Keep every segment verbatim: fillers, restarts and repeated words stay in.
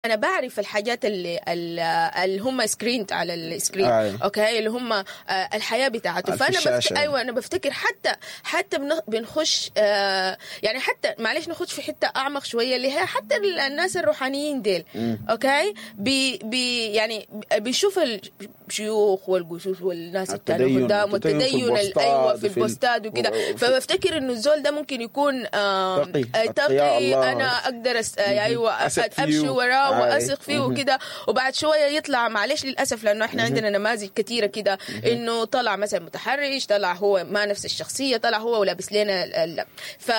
انا بعرف الحاجات اللي اللي هم screened على ال screen. أيوة. okay، اللي هم آه، الحياة بتاعته. في فانا بفت... الشاشة. ايوه، انا بفتكر حتى حتى بن- بنخش آه، يعني حتى معلش نخش في حتة اعمق شويه، اللي هي حتى ال- الناس الروحانيين ديل، okay، بي بي يعني بيشوف الشيوخ والقسوس والناس التانية التدين- قدام التدين في والتدين ال- البوستات ايوه، في وفي ال- البوستات وكده. وفي- فبفتكر انه الزول ده ممكن يكون آم، تقي، آه، أتقياء تقي الله. انا اقدر أس... ايوه أثق فيه. امشي وراه آي. واثق فيه وكده، وبعد شوية يطلع، معلش للاسف، لانه احنا عندنا نماذج كثيرة كده، انه طلع مثلا متحرش، طلع هو ما نفس الشخصيه، طلع هو ولابس لنا ال- ال- ف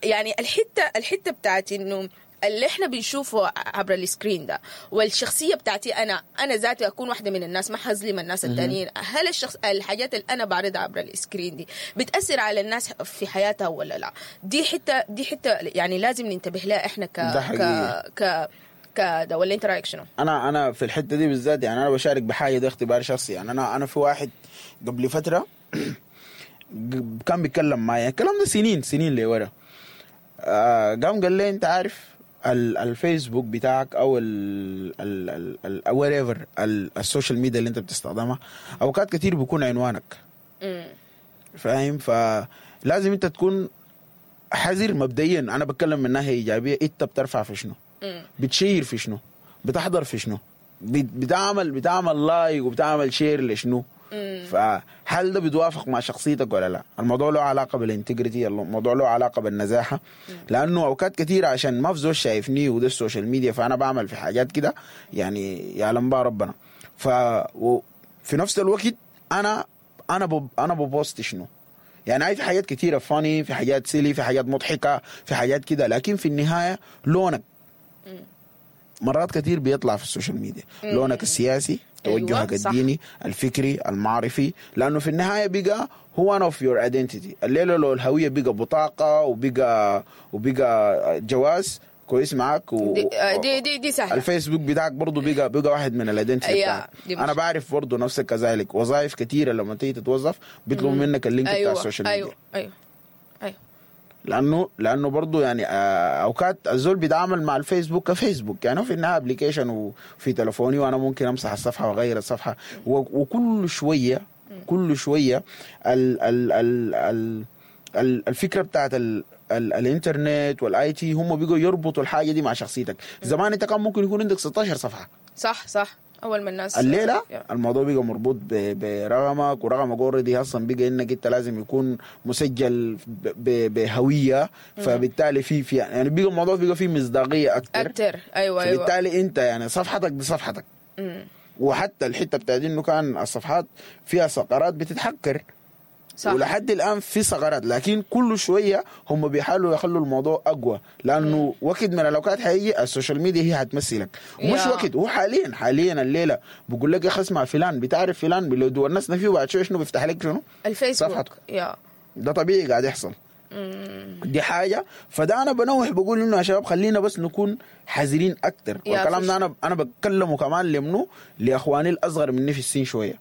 يعني الحته الحته بتاعت انه اللي احنا بنشوفه عبر ال screen ده والشخصية بتاعتي، انا انا ذاتي اكون واحدة من الناس، ما حظلم الناس التانيين. هل الشخص الحاجات اللي انا بعرضها عبر ال screen دي بتاثر على الناس في حياتها ولا لا؟ دي حته دي حته يعني لازم ننتبه لها احنا ك ده ك حقيقي. ك كده، ولا انت رايك شنو؟ انا انا في الحتة دي بالذات يعني انا بشارك بحاجه، ده اختبار شخصي. يعني انا انا في واحد قبل فترة كان بيتكلم معي، الكلام ده سنين سنين لورا، آه قام قال لي انت عارف ال- الفيسبوك بتاعك او ال ال ال whatever ال social media اللي انت بتستخدمها، اوقات كتير بيكون عنوانك. امم فاهم؟ فلازم انت تكون حذر. مبدئيا انا بتكلم من ناحية ايجابيه، انت بترفع في شنو؟ امم بتشير في شنو؟ بتحضر في شنو؟ بت- بتعمل بتعمل like وبتعمل share لشنو؟ فهل ده بيتوافق مع شخصيتك ولا لا؟ الموضوع له علاقة بال integrity، الموضوع له علاقة بالنزاهه، لانه اوقات كثيرة عشان ما في زول شايفني وده ال social media، فانا بعمل في حاجات كده يعني يعلم بها ربنا. ف و- في نفس الوقت انا انا بب انا ب post شنو؟ يعني هاي في حاجات كثيرة funny، في حاجات silly، في حاجات مضحكه، في حاجات كده، لكن في النهاية لونك مرات كثير بيطلع في ال social media، لونك السياسي، توجهك أيوة، صح. الديني، الفكري، المعرفي، لانه في النهاية بقى هو one of your identity. الليلة لو الهوية بقى بطاقة وبقى وبقى جواز، كويس معاك؟ و... دي آه، دي دي, دي سهله. الفيسبوك بتاعك برضه بقى بقى واحد من ال identity أيوة، بتاعك. دي انا مش- بعرف برضه نفسك كذلك، وظائف كثيرة لما تيجي تتوظف بيطلبوا منك ال link بتاع ايوه ال social media. ايوه ايوه ايوه لانه لانه برضه يعني آه، اوقات الزول بيتعامل مع الفيسبوك كفيسبوك، يعني هو في النهاية application وفي تلفوني، وانا ممكن امسح الصفحة واغير الصفحة و- وكل شوية كل شوية ال ال ال ال ال الفكرة بتاعت ال ال الانترنت وال IT هم بيجوا يربطوا الحاجة دي مع شخصيتك. زمان انت كان ممكن يكون عندك ستاشر صفحه. صح صح، اول ما الناس الليلة yeah. الموضوع بقى مربوط ب- برقمك، ورقمك already اصلا بقى انك انت لازم يكون مسجل ب- ب- بهويه، فبالتالي في في يعني بقى الموضوع بقى فيه مصداقية اكثر. اكتر، ايوه ايوه فبالتالي انت يعني صفحتك دي صفحتك. مم. وحتى الحتة بتاعت انه كان الصفحات فيها ثغرات بتتحكر، صح ولحد الان في ثغرات، لكن كل شوية هم بيحاولوا يخلوا الموضوع اقوى، لانه وقت من الاوقات حيجي ال social media هي هتمثلك، ومش yeah. وقت، هو حاليا حاليا الليلة بقول لك يا اخي اسمع فلان، بتعرف فلان، لو ونسنا فيه بعد شوية شنو بيفتح لك شنو؟ الفيسبوك. صفحته. yeah. ده طبيعي قاعد يحصل، دي حاجه. فده انا بنوه بقول انه يا شباب خلينا بس نكون حذرين اكتر. yeah والكلام فش- ده انا انا بتكلمه كمان لمنو؟ لاخواني الاصغر مني في السن شويه،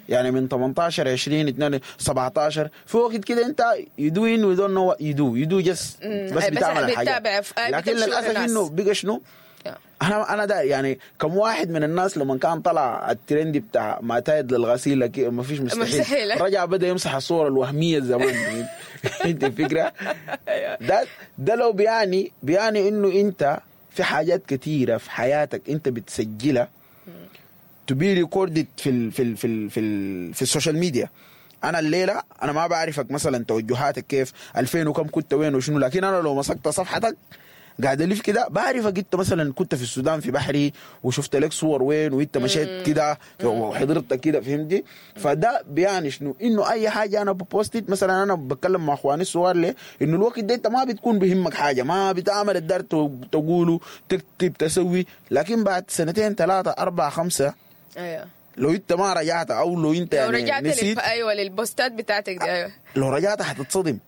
يعني من تمنتاشر، عشرين، اتنين، سبعتاشر. في وقت كده انت you doing, you don't know you do you do just مم. بس بس بتعمل الحاجات. بتتابع في- لكن بتمشي ورا للاسف الناس. انه بقى شنو؟ yeah. انا انا ده يعني كم واحد من الناس لما كان طلع الترند بتاع ما تايد للغسيل لكن ما فيش مستحيل، مستحيل. رجع بدا يمسح الصور الوهمية زمان. انت الفكرة ده ده لو بيعني بيعني انه انت في حاجات كثيرة في حياتك انت بتسجلها to be recorded في ال في ال في ال في, ال في ال social media. انا الليلة انا ما بعرفك مثلا توجهاتك كيف، ألفين وكم كنت وين وشنو، لكن انا لو مسكت صفحتك قاعد الف كده بعرفك انت مثلا كنت في السودان في بحري وشفت لك صور وين، وانت مشيت كده وحضرتك كده، فهمتي؟ فده بيعني شنو؟ انه اي حاجة انا ب post مثلا، انا بتكلم مع اخواني الصغار ليه؟ انه الوقت ده انت ما بتكون بهمك حاجه، ما بتعمل الدار تقوله، تكتب، تسوي، لكن بعد سنتين، ثلاثه، اربعه، خمسه، ايوه لو انت ما رجعت او لو انت لو يعني رجعت نسيت، للب... ايوه، للبوستات بتاعتك دي، ايوه. لو رجعت حتتصدم.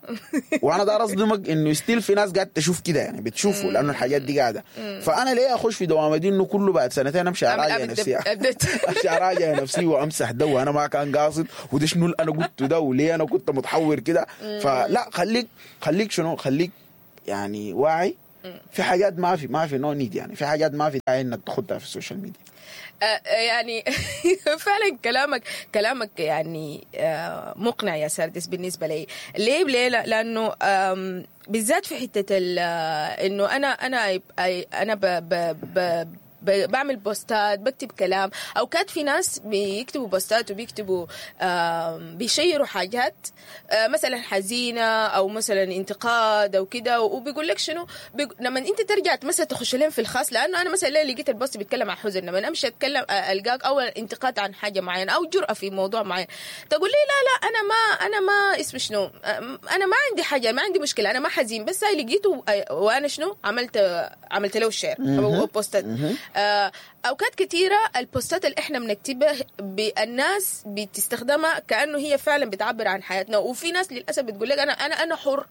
وانا دار اصدمك انه still في ناس قاعد تشوف كده، يعني بتشوفه لانه الحاجات دي قاعده. فانا ليه اخش في دوامه دي انه كله بعد سنتين امشي اراجع أبدأ- نفسي، أبدأ. امشي اراجع نفسي وامسح ده، وانا ما كان قاصد، وده شنو اللي انا قلته ده، وليه انا كنت متحور كده؟ فلا، خليك خليك شنو، خليك يعني واعي. في حاجات ما في ما في no need، يعني في حاجات ما في داعي انك تاخدها في ال social media. آه، آه، يعني فعلا كلامك كلامك يعني آه، مقنع يا سردس بالنسبة لي. ليه ليه؟ لا- لانه آم، بالذات في حتة ال- آه، انه انا انا انا ب ب ب ب- بعمل بوستات، بكتب كلام. اوقات في ناس بيكتبوا بوستات وبيكتبوا آم، بيشيروا حاجات آه، مثلا حزينة او مثلا انتقاد او كده، وبيقول لك شنو بيق... لما انت ترجع مثلا تخش لهم في الخاص، لانه انا مثلا ليه لقيت ال post بيتكلم عن حزن، لما امشي اتكلم آه، القاك اول انتقاد عن حاجة معينة او جرأه في موضوع معين، تقول لي لا لا انا ما انا ما اسمه شنو، آه، انا ما عندي حاجة، ما عندي مشكلة، انا ما حزين، بس هاي لقيته آه، وانا شنو عملت عملت له share او بوستات. آه، اوقات كثيرة البوستات اللي احنا بنكتبها ب- الناس بتستخدمها كانه هي فعلا بتعبر عن حياتنا، وفي ناس للاسف بتقول لك انا انا انا حر،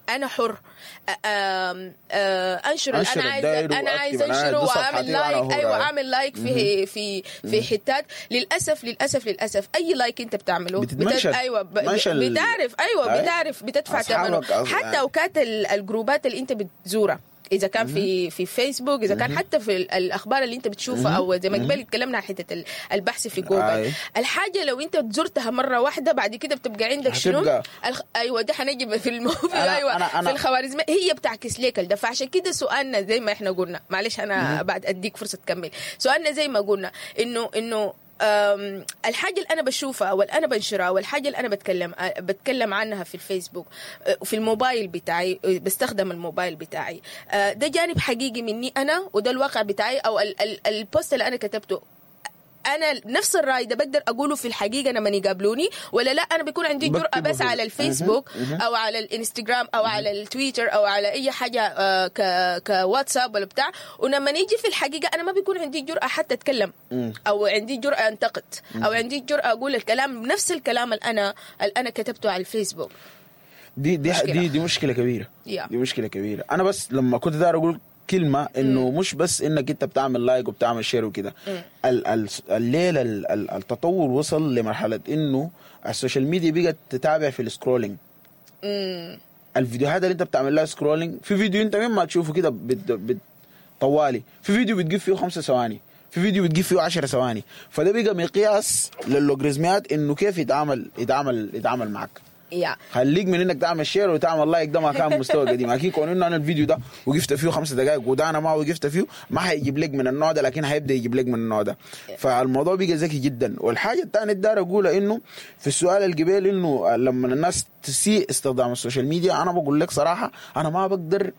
انا حر أ- آم، آه، انشر اللي أنشر انا عايزه، الداير انا عايز وأكتب، أنا انشره دي واعمل صفحتي وأنا like، حر. ايوه اعمل like في في في حتات. للاسف للاسف للاسف اي like انت بتعمله بت- بتتمنشن. ايوه ب- منشن ال- بتعرف، ايوه أي. بتعرف بتدفع أصحابك ثمنه. أص- حتى اوقات ال- الجروبات اللي انت بتزورها، اذا كان في في فيسبوك، اذا كان حتى في ال- الاخبار اللي انت بتشوفها، او زي ما قبل اتكلمنا عن حتة ال- البحث في جوجل. أي. الحاجة لو انت زرتها مرة واحدة بعد كده بتبقى عندك شنو هتبقى. الخ... ايوه ده حنجي في المو... في أنا- ايوه أنا- أنا- في الخوارزمية هي بتعكس لك ده. فعشان كده سؤالنا زي ما احنا قلنا، معلش انا بعد اديك فرصة تكمل، سؤالنا زي ما قلنا انه انه أم، الحاجة اللي أنا بشوفها أو اللي أنا بنشرها أو الحاجة اللي أنا بتكلم أه، بتكلم عنها في الفيسبوك، أه، في الموبايل بتاعي، أه، بستخدم الموبايل بتاعي، أه، ده جانب حقيقي مني أنا، وده الواقع بتاعي، أو ال- ال- ال post اللي أنا كتبته انا نفس الراي ده بقدر اقوله في الحقيقة لما يقابلوني ولا لا؟ انا بيكون عندي جرأة بكتبه بس في- على الفيسبوك او على الانستغرام او على التويتر او على اي حاجة آه، ك كواتساب ولا بتاع، ولما نيجي في الحقيقة انا ما بيكون عندي جرأة حتى اتكلم، او عندي جرأة انتقد، او عندي جرأة اقول الكلام نفس الكلام اللي انا اللي انا كتبته على الفيسبوك. دي دي مشكلة. دي دي مشكلة كبيرة. Yeah. دي مشكلة كبيرة. انا بس لما كنت داير اقول كلمة انه مش بس انك انت بتعمل like وبتعمل share وكده، ال- ال- الليلة ال- ال- التطور وصل لمرحلة انه ال social media بقت تتابع في ال scrolling. الفيديوهات اللي انت بتعمل لها scrolling، في فيديو انت مما تشوفه كده بت بت طوالي، في فيديو بتجيب فيه خمسة ثواني، في فيديو بتجيب فيه عشر ثواني، فده بقى مقياس للوغاريتمات انه كيف يتعامل يتعامل يتعامل معك. يا خليك من انك تعمل share وتعمل like، ده ما كان مستوى قديم. اكيد كون انه انا الفيديو ده وقفت فيه خمس دقائق وده انا ما وقفت فيه، ما حيجيب لك من النوع ده، لكن حيبدا يجيب لك من النوع ده. فالموضوع بقى ذكي جدا. والحاجة الثانية الدار اقولها انه في السؤال القبيل انه لما الناس تسيء استخدام ال social media، انا بقول لك صراحة انا ما بقدر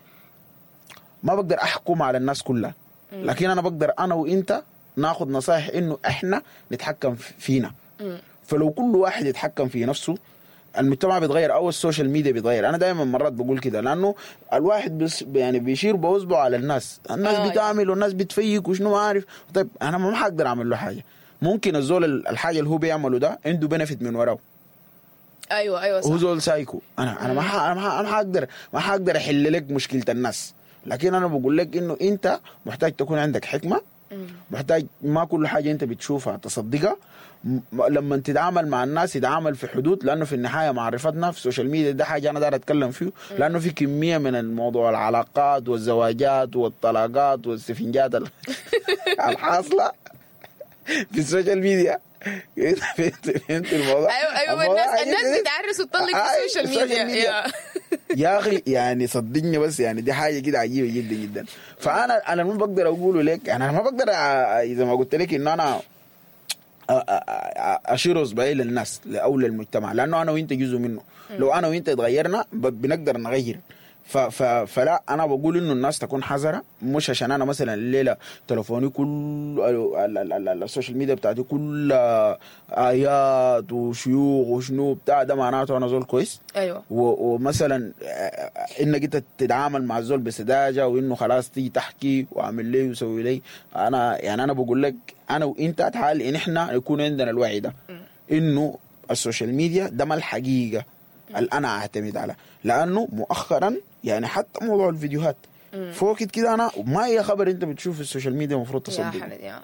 ما بقدر احكم على الناس كلها، لكن انا بقدر انا وانت ناخذ نصائح انه احنا نتحكم فينا. فلو كل واحد يتحكم في نفسه المجتمع بيتغير او ال social media بيتغير. انا دائما مرات بقول كده لانه الواحد بس يعني بيشير باصبعه على الناس، الناس آه، بتعمل والناس بتفيك وشنو ما عارف. طيب انا ما حقدر اعمل له حاجة. ممكن الزول الحاجة اللي هو بيعمله ده عنده benefit من وراه، ايوه ايوه صح. هو زول سايكو. انا انا ما ح- انا ما ح- انا ما حقدر ما حقدر احل لك مشكلة الناس، لكن انا بقول لك انه انت محتاج تكون عندك حكمه، محتاج ما كل حاجة انت بتشوفها تصدقها. م- لما تتعامل مع الناس يتعامل في حدود، لانه في النهاية معرفتنا في ال social media ده حاجة انا داير اتكلم فيه، لانه في كمية من الموضوع العلاقات والزواجات والطلاقات والسفنجات ال- الحاصلة في ال social media. فهمت فهمت الموضوع؟ ايوه ايوه الموضوع الناس عجيب الناس جداً. بتعرس وتطلق في آه، ال social ال social media. ميديا. يا. يا اخي يعني صدقني بس يعني دي حاجة كده عجيبة جدا جدا. فانا انا ما بقدر اقوله لك، يعني انا ما بقدر أ- اذا ما قلت لك انه انا أ- أ- أ- اشير اصبعي للناس او للمجتمع، لانه انا وانت جزء منه. لو انا وانت اتغيرنا ب- بنقدر نغير. ف ف فلا انا بقول انه الناس تكون حذره، مش عشان انا مثلا الليلة تليفوني كل ال- ال- ال- ال social media بتاعتي كلها ايات وشيوخ وشنو بتاع ده، معناته انا زول كويس. ايوه و- ومثلا آه، انك انت تتعامل مع الزول بسذاجه وانه خلاص تيجي تحكي واعمل لي وسوي لي. انا يعني انا بقول لك انا وانت تعال ان احنا يكون عندنا الوعي ده انه ال social media ده ما الحقيقة اللي انا اعتمد على، لانه مؤخرا يعني حتى موضوع الفيديوهات فوق كده انا ما اي خبر انت بتشوف في ال social media المفروض يا تصدق، حمد يا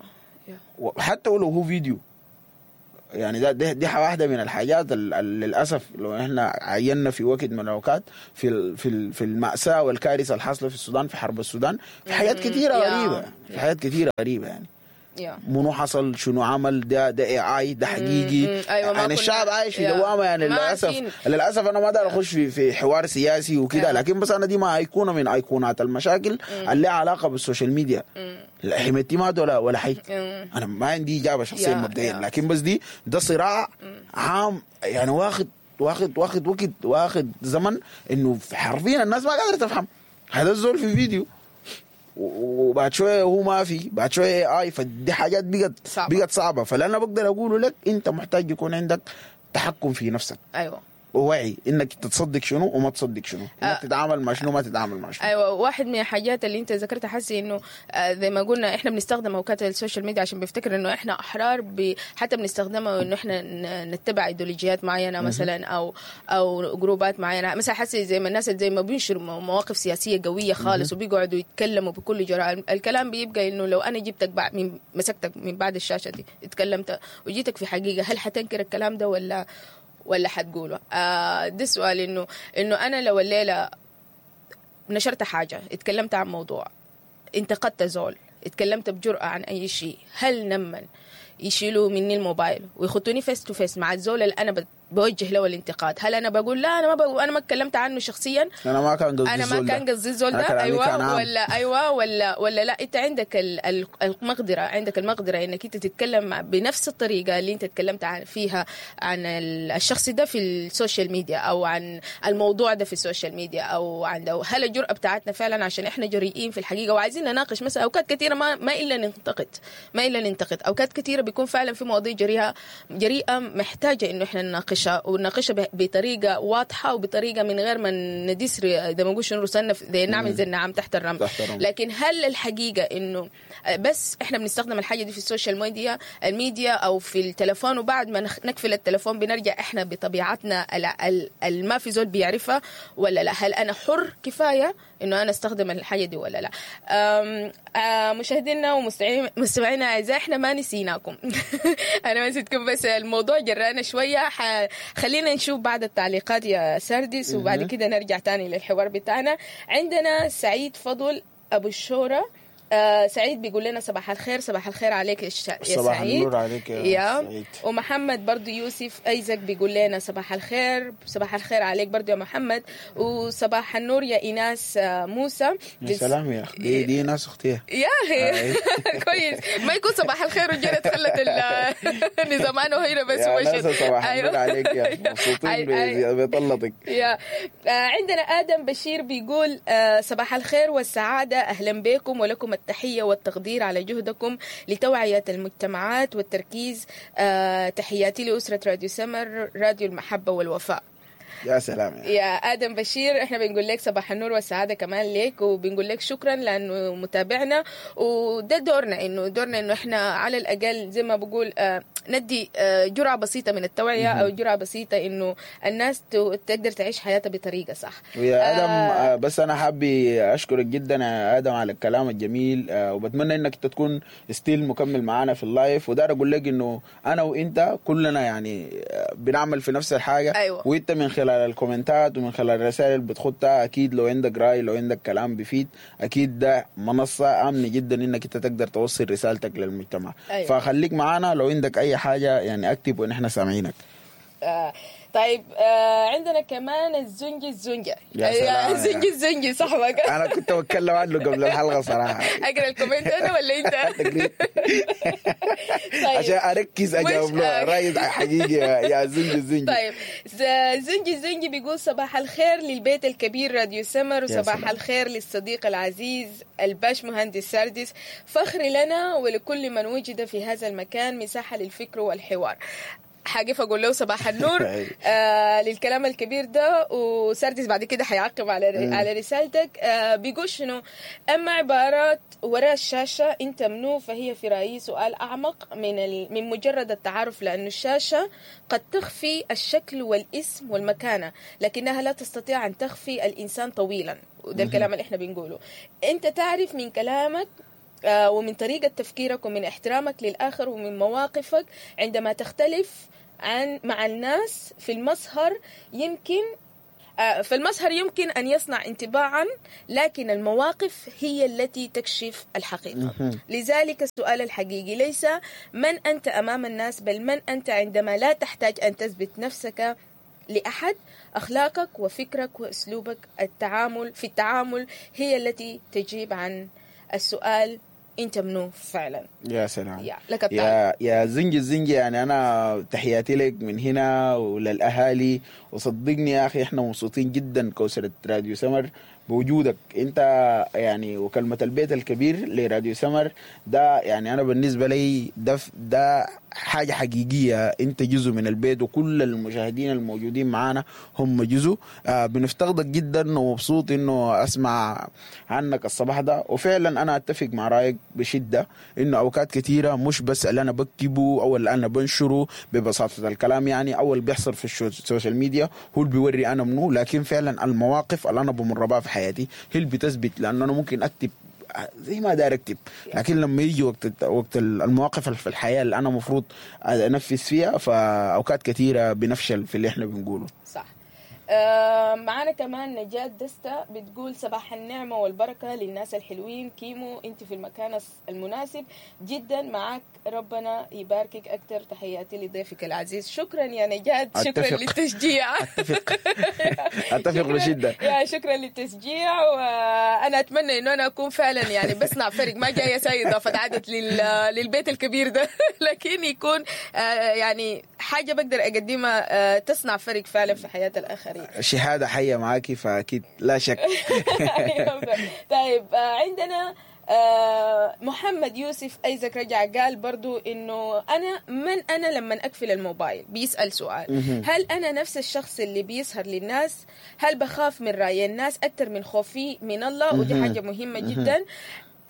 يا. وحتى ولو هو فيديو. يعني ده دي, دي واحدة من الحاجات ال- ال- للاسف لو احنا عينا في وقت من الاوقات في ال- في ال- في الماساة والكارثه الحاصلة في السودان، في حرب السودان، في حاجات كثيرة yeah. غريبة، في حاجات كثيرة غريبة يعني yeah. منو حصل، شنو عمل، ده ده AI، ده حقيقي. مم. أيوة، ما يعني كنا- الشعب عايش في yeah. دوامه يعني. ما للاسف عارفين. للاسف انا ما اقدر اخش في في حوار سياسي وكده، yeah. لكن بس انا دي ما ايقونة من ايقونات المشاكل اللي لها علاقة بال social media. لا حميدتي مات ولا ولا حي، مم. انا ما عندي اجابه شخصية yeah. مبدئيا، yeah. لكن بس دي ده صراع عام يعني، واخد واخد واخد وقت، واخد زمن، انه حرفيا الناس ما قادرة تفهم هذا الزول في فيديو و- وبعد شوية هو ما في، بعد شوية AI. فدي حاجات بقت صعبة. بقت صعبة. فلا انا بقدر اقوله لك انت محتاج يكون عندك تحكم في نفسك ايوه ووعي انك تصدق شنو وما تصدق شنو، انك آه. تتعامل مع شنو وما تتعامل مع شنو. ايوه، واحد من الحاجات اللي انت ذكرتها حسي انه آه، زي ما قلنا احنا بنستخدم اوقات ال social media عشان بنفتكر انه احنا احرار ب... حتى بنستخدمها انه احنا ن- نتبع ايديولوجيات معينة مثلا او او جروبات معينة مثلا. حسي زي ما الناس زي ما بينشروا مو- مواقف سياسية قوية خالص وبيقعدوا يتكلموا بكل جراءه، الكلام بيبقى انه لو انا جبتك بعد من مسكتك من بعد الشاشة دي اتكلمت وجيتك في حقيقة، هل حتنكر الكلام ده ولا ولا حتقوله؟ آه ده السؤال، انه انه انا لو الليلة نشرت حاجة، اتكلمت عن موضوع، انتقدت زول، اتكلمت بجرأة عن أي شيء، هل لما يشيلوا مني الموبايل ويخطوني face to face مع الزول اللي أنا بت- بوجه له الانتقاد، هل أنا بقول لا أنا ما بقول، أنا ما اتكلمت عنه شخصيا، انا ما كان قصدي انا ما الزول كان ده. قصدي الزول أنا ده، كلامي كان ايوه عام. ولا ايوه ولا ولا لا، انت عندك ال- ال- المقدره، عندك المقدرة انك انت تتكلم مع- بنفس الطريقة اللي انت تكلمت عن فيها عن ال- الشخص ده في ال social media او عن الموضوع ده في ال social media او عن ده. هل الجرأة بتاعتنا فعلا عشان احنا جريئين في الحقيقة وعايزين نناقش مثلا؟ اوقات كثيرة ما ما الا ننتقد، ما الا ننتقد. اوقات كثيرة بيكون فعلا في مواضيع جريئة جريئة محتاجه انه احنا نناقشها ونناقشها ب- بطريقة واضحة وبطريقة من غير ما ندس زي ما نقول شنو رسلنا زي نعمل زي النعام تحت الرمل. تحت الرمل. لكن هل الحقيقة انه بس احنا بنستخدم الحاجة دي في ال social media الميديا او في التلفون، وبعد ما نخ- نقفل التلفون بنرجع احنا بطبيعتنا ال- ال- ال- ما في زول بيعرفها ولا لا؟ هل انا حر كفاية انه انا استخدم الحاجة دي ولا لا؟ أم، آه، مشاهدينا ومستمعينا الاعزاء، احنا ما نسيناكم، انا ما نسيتكم، بس الموضوع جرانا شوية. ح- خلينا نشوف بعض التعليقات يا سردس وبعد كده نرجع تاني للحوار بتاعنا. عندنا سعيد فضل ابو الشوره، آه سعيد بيقول لنا صباح الخير. صباح الخير عليك يا ش- يا صباح سعيد. النور عليك يا يا سعيد. ومحمد برضو يوسف ايزك بيقول لنا صباح الخير. صباح الخير عليك برضو يا محمد. وصباح النور يا ايناس آه، موسى. يا سلام يا اخي، دي دي ناس اختيها. يا اخي كويس، ما يكون صباح الخير وجرت خلت ال- النظام انا وهنا بس يا وشت. ناس صباح النور أيوة. عليك يا أخي. مبسوطين أي- أي. ب- بطلتك. يا آه، عندنا آدم بشير بيقول آه، صباح الخير والسعادة، أهلا بكم ولكم التحية والتقدير على جهدكم لتوعية المجتمعات والتركيز. آه، تحياتي لأسرة راديو سمر، راديو المحبة والوفاء. يا سلام يا أخي. يا آدم بشير، احنا بنقول لك صباح النور والسعادة كمان ليك، وبنقول لك شكرا لأنه متابعنا، وده دورنا، إنه دورنا إنه احنا على الأقل زي ما بقول آه، ندي آه، جرعة بسيطة من التوعية أو جرعة بسيطة إنه الناس تو- تقدر تعيش حياتها بطريقة صح. ويا ادم آه. آه، بس انا حابي اشكرك جدا يا ادم على الكلام الجميل، آه، وبتمنى انك انت تكون still مكمل معانا في ال live. ودار اقول لك انه انا وانت كلنا يعني آه، بنعمل في نفس الحاجة. أيوة. وانت من خلال الكومنتات ومن خلال الرسائل اللي بتخطها، اكيد لو عندك راي، لو عندك كلام بيفيد، اكيد ده منصة امنه جدا انك انت تقدر توصل رسالتك للمجتمع. أيوة. فخليك معانا، لو عندك اي حاجة يعني اكتب ونحن سامعينك. آه، طيب، آه، عندنا كمان الزنجي الزنجة. يا سلام. الزنجي الزنجي صاحبك. انا كنت بتكلم عنه قبل الحلقة صراحة. اقرا ال comment انا ولا انت؟ تقريبا. طيب. عشان اركز اجاوب مش- له راي حقيقي يا يا زنجي الزنجي. طيب، ز- زنجي الزنجي بيقول صباح الخير للبيت الكبير راديو سمر، وصباح سلام. الخير للصديق العزيز الباش مهندس ساردس، فخر لنا ولكل من وجد في هذا المكان مساحة للفكر والحوار. حاجة اقول له صباح النور آه للكلام الكبير ده، وسردس بعد كده حيعقب على على رسالتك. آه بيقول شنو؟ اما عبارات وراء الشاشة انت منو، فهي في رايي سؤال اعمق من ال... من مجرد التعارف، لأن الشاشة قد تخفي الشكل والاسم والمكانة، لكنها لا تستطيع ان تخفي الانسان طويلا. وده الكلام اللي احنا بنقوله، انت تعرف من كلامك آه، ومن طريقة تفكيرك ومن احترامك للآخر ومن مواقفك عندما تختلف عن مع الناس في المظهر. يمكن آه، فالمظهر يمكن أن يصنع انطباعا، لكن المواقف هي التي تكشف الحقيقة. لذلك السؤال الحقيقي ليس من أنت أمام الناس، بل من أنت عندما لا تحتاج أن تثبت نفسك لأحد. أخلاقك وفكرك وأسلوبك التعامل في التعامل هي التي تجيب عن السؤال أنت منو فعلا. يا سلام. يا لك التعليق. يا يا زنجي الزنجي، يعني انا تحياتي لك من هنا وللاهالي، وصدقني يا اخي احنا مبسوطين جدا كوسرة راديو سمر بوجودك انت، يعني وكلمة البيت الكبير لراديو سمر ده، يعني انا بالنسبة لي ده ده حاجة حقيقية، انت جزء من البيت وكل المشاهدين الموجودين معانا هم جزء. آه بنفتقدك جدا ومبسوط انه اسمع عنك الصباح ده، وفعلا انا اتفق مع رايك بشدة انه اوقات كثيرة مش بس اللي انا بكتبه او اللي انا بنشره ببساطة الكلام، يعني او اللي بيحصل في الشو- ال social media هو اللي بيوري انا منو، لكن فعلا المواقف اللي انا بمر بها في حياتي هي اللي بتثبت، لانه انا ممكن اكتب زي ما داير اكتب، لكن لما يجي وقت وقت المواقف في الحياة اللي انا المفروض انفذ فيها، فاوقات كثيرة بنفشل في اللي احنا بنقوله. صح. آه، معانا كمان نجاة دستة بتقول صباح النعمة والبركة للناس الحلوين. كيمو انت في المكان الس- المناسب جدا، معاك ربنا يباركك أكتر. تحياتي لضيفك العزيز. شكرا يا نجاة، شكرا أتفق. للتشجيع. اتفق اتفق شكراً- بشده. يا شكرا للتشجيع، وانا اتمنى انه انا اكون فعلا يعني بصنع فرق، ما جاية ساي اضافه عدد لل... للبيت الكبير ده، لكن يكون آه، يعني حاجة بقدر اقدمها آه، تصنع فرق فعلا في حياة الاخرين. شهادة حيه معاكي، فاكيد لا شك. طيب، آه، عندنا آه، محمد يوسف ايزك رجع قال برضو انه انا من انا لما اقفل الموبايل، بيسال سؤال، هل انا نفس الشخص اللي بيسهر للناس؟ هل بخاف من راي الناس اكثر من خوفي من الله؟ ودي حاجة مهمة جدا.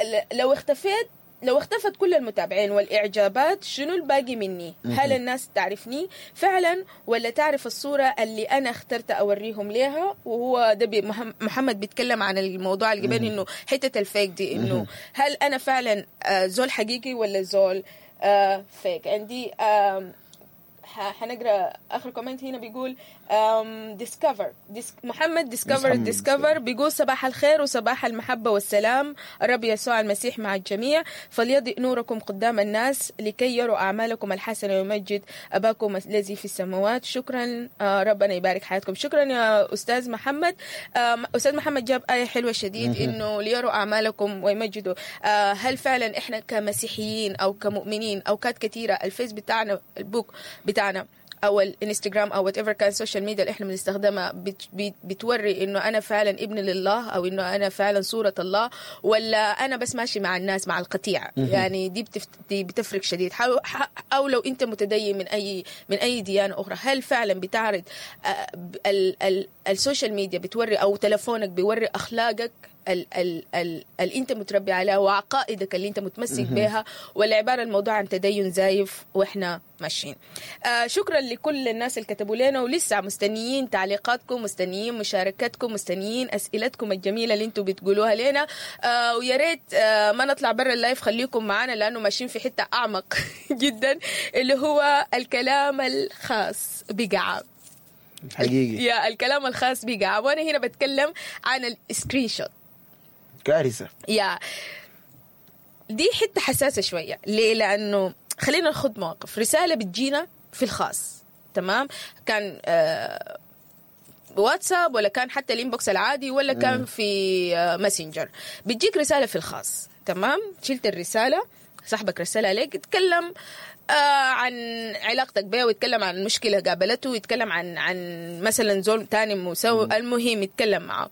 ل- لو اختفيت، لو اختفت كل المتابعين والإعجابات، شنو الباقي مني؟ هل الناس تعرفني فعلا ولا تعرف الصورة اللي أنا اخترت أوريهم ليها؟ وهو ده بي مهم- محمد بيتكلم عن الموضوع اللي قبل، إنه حتة ال fake دي، إنه هل أنا فعلا آه، زول حقيقي ولا زول آه، fake؟ عندي آم، ح- حنقرا اخر comment هنا، بيقول discover محمد discover محمد discover بيقول صباح الخير وصباح المحبة والسلام، الرب يسوع المسيح مع الجميع، فليضئ نوركم قدام الناس لكي يروا أعمالكم الحسنة ويمجد أباكم الذي في السماوات. شكرا، آه، ربنا يبارك حياتكم. شكرا يا أستاذ محمد. آم، أستاذ محمد جاب آية حلوة شديد، إنه ليروا أعمالكم ويمجدوا. آه، هل فعلا إحنا كمسيحيين أو كمؤمنين أوقات كثيرة الفيس بتاعنا، البوك بتاعنا، او الانستغرام او whatever كان ال social media اللي احنا بنستخدمها، بت بت بتوري انه انا فعلا ابن لله او انه انا فعلا صوره الله، ولا انا بس ماشي مع الناس مع القطيع؟ يعني دي بتفت دي بتفرق شديد. حاو- ح- او لو انت متدين من اي من اي ديانة اخرى، هل فعلا بتعرض آه، ب- ال ال ال social media بتوري او تلفونك بيوري اخلاقك ال ال ال اللي انت متربي عليها وعقائدك اللي انت متمسك بها، ولا عبارة الموضوع عن تدين زايف واحنا ماشيين؟ آه شكرا لكل الناس اللي كتبوا لنا، ولسه مستنيين تعليقاتكم، مستنيين مشاركتكم، مستنيين اسئلتكم الجميلة اللي انتم بتقولوها لنا. آه ويا ريت آه ما نطلع برا ال live، خليكم معانا لانه ماشيين في حتة اعمق جدا، اللي هو الكلام الخاص بقعاب. حقيقي. يا الكلام الخاص بقعاب، وانا هنا بتكلم عن ال screenshot. كارثة. يا دي حتة حساسة شوية. ليه؟ لأنه خلينا ناخذ موقف رسالة بتجينا في الخاص، تمام؟ كان آه واتساب ولا كان حتى ال inbox العادي ولا كان في آه ماسنجر، بتجيك رسالة في الخاص، تمام؟ شلت الرسالة، صاحبك رسلها لك، اتكلم آه عن علاقتك بيه، ويتكلم عن مشكلة قابلته، ويتكلم عن عن مثلا زول تاني مسوي، المهم يتكلم معه.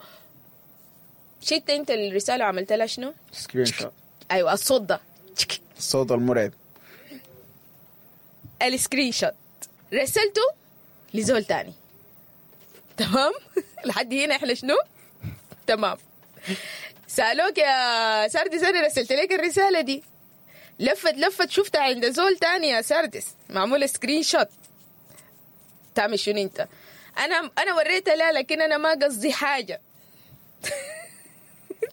شلت انت الرسالة وعملت لها شنو؟ screenshot. ايوه، الصوت ده. الصوت المرعب. ال screenshot رسلته لزول تاني، تمام؟ لحد هنا احنا شنو؟ تمام. سالوك يا ساردس، انا رسلت لك الرسالة دي، لفت لفت شفتها عند زول تاني يا ساردس، معمولة screenshot، تعمل شنو انت؟ انا انا وريتها لا، لكن انا ما قصدي حاجة.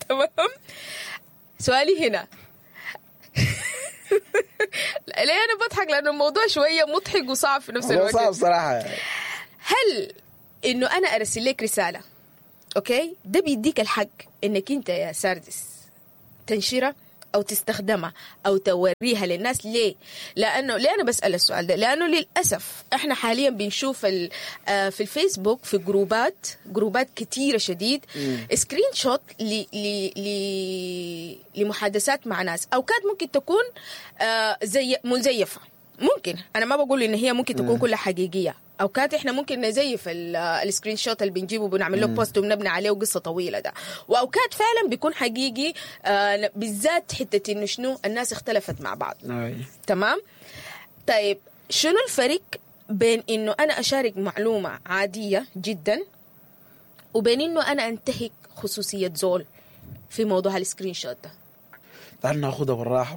تمام؟ سؤالي هنا بضحك لانه الموضوع شوية مضحك وصعب في نفس الموضوع الوقت. صعب صراحة. هل انه انا ارسل لك رسالة okay ده بيديك الحق انك انت يا ساردس تنشرها او تستخدمها او توريها للناس؟ ليه؟ لانه ليه انا بسال السؤال ده؟ لانه للاسف احنا حاليا بنشوف ال- آه، في الفيسبوك في جروبات جروبات كتيرة شديد screenshot ل ل ل لمحادثات مع ناس، اوقات ممكن تكون آه، زي مزيفة، ممكن انا ما بقول ان هي ممكن تكون كلها حقيقية، اوقات احنا ممكن نزيف ال- ال screenshot اللي بنجيبه بنعمل له post وبنبني عليه قصة طويلة ده، واوقات فعلا بيكون حقيقي، آه بالذات حتة انه شنو الناس اختلفت مع بعض. تمام. طيب شنو الفرق بين انه انا اشارك معلومة عادية جدا وبين انه انا انتهك خصوصية زول في موضوع ال screenshot ده؟ تعال ناخدها بالراحة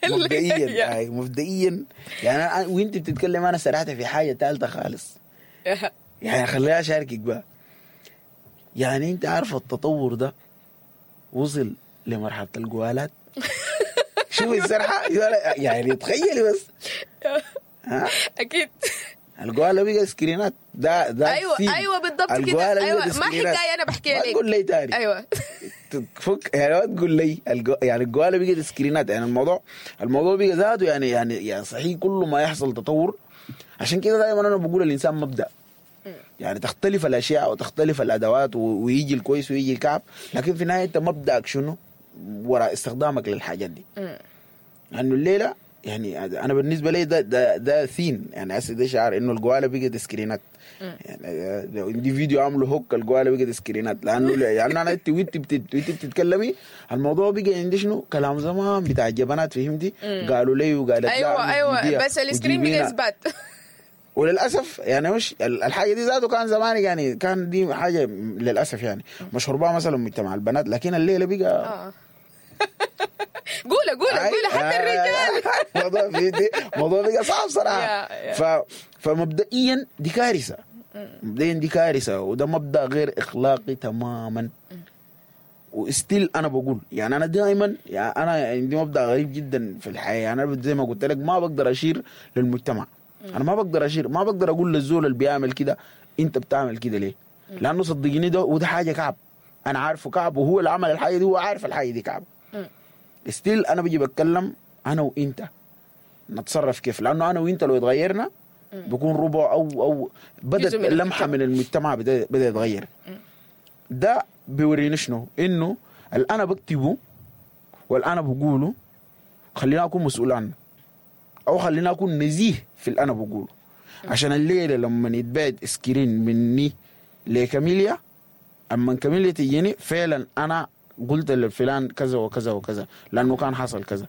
مبدئيا. أي، مبدئيا يعني أنا وانت بتتكلم انا سرحت في حاجة ثالثة خالص، يعني خليها اشاركك بقى. يعني انت عارفه التطور ده وصل لمرحلة الجوالات. شوف السرحه، يعني تخيلي بس، ها اكيد. الجواله بقى سكرينات ده ده ايوه scene. ايوه بالضبط كده. الجواله ايوه بقت ما سكرينات. حكاية انا بحكيها ما لك. تقول لي تاني. ايوه تفك يعني ما تقول لي الجو... يعني الجواله بقت سكرينات. يعني الموضوع الموضوع بقى ذاته يعني يعني يعني صحيح كل ما يحصل تطور. عشان كده دائما انا بقول الانسان مبدا، يعني تختلف الاشياء وتختلف الادوات و... ويجي الكويس ويجي الكعب، لكن في النهاية انت مبدأك شنو وراء استخدامك للحاجات دي. لانه الليلة يعني انا بالنسبة لي ده ده ده ثين، يعني هسه ده شعار انه الجواله بقت سكرينات. يعني لو عندي فيديو عامله hook الجواله بقت سكرينات، لانه يعني انا انت وانت بتت- وانت بتتكلمي الموضوع بقى عندي شنو كلام زمان بتاع الجبنات، فهمتي؟ قالوا لي وقالت لا ايوه ايوه وجيبيها بس ال screen وجيبينا. بقى اثبات. وللاسف يعني مش الحاجة دي ذاته كان زمان، يعني كان دي حاجة للاسف يعني مشهور بها مثلا مجتمع البنات، لكن الليلة بقى اه قولها قولها قولها حتى الرجال. الموضوع في دي موضوع بقى صعب صراحة. يا- يا. ف فمبدئيا دي كارثة، مبدئيا دي كارثة، وده مبدا غير اخلاقي تماما. و still انا بقول يعني انا دائما يعني انا عندي مبدا غريب جدا في الحياة، يعني انا زي ما قلت لك ما بقدر اشير للمجتمع، انا ما بقدر اشير، ما بقدر اقول للزول اللي بيعمل كده انت بتعمل كده ليه؟ لانه صدقيني ده وده حاجة كعب، انا عارفه كعب، وهو اللي عمل الحاجة دي هو عارف الحاجة دي كعب. still انا بيجي بتكلم انا وانت نتصرف كيف، لانه انا وانت لو اتغيرنا بكون ربع او او بدات جزء من لمحه من المجتمع بدا بدا يتغير. ده بيوريني شنو؟ انه اللي انا بكتبه واللي انا بقوله خلينا اكون مسؤول عنه، او خلينا اكون نزيه في اللي انا بقوله، عشان الليلة لما يتبعد screen مني لكاميليا، اما كاميليا تجيني فعلا انا قلت لفلان كذا وكذا وكذا لانه كان حصل كذا،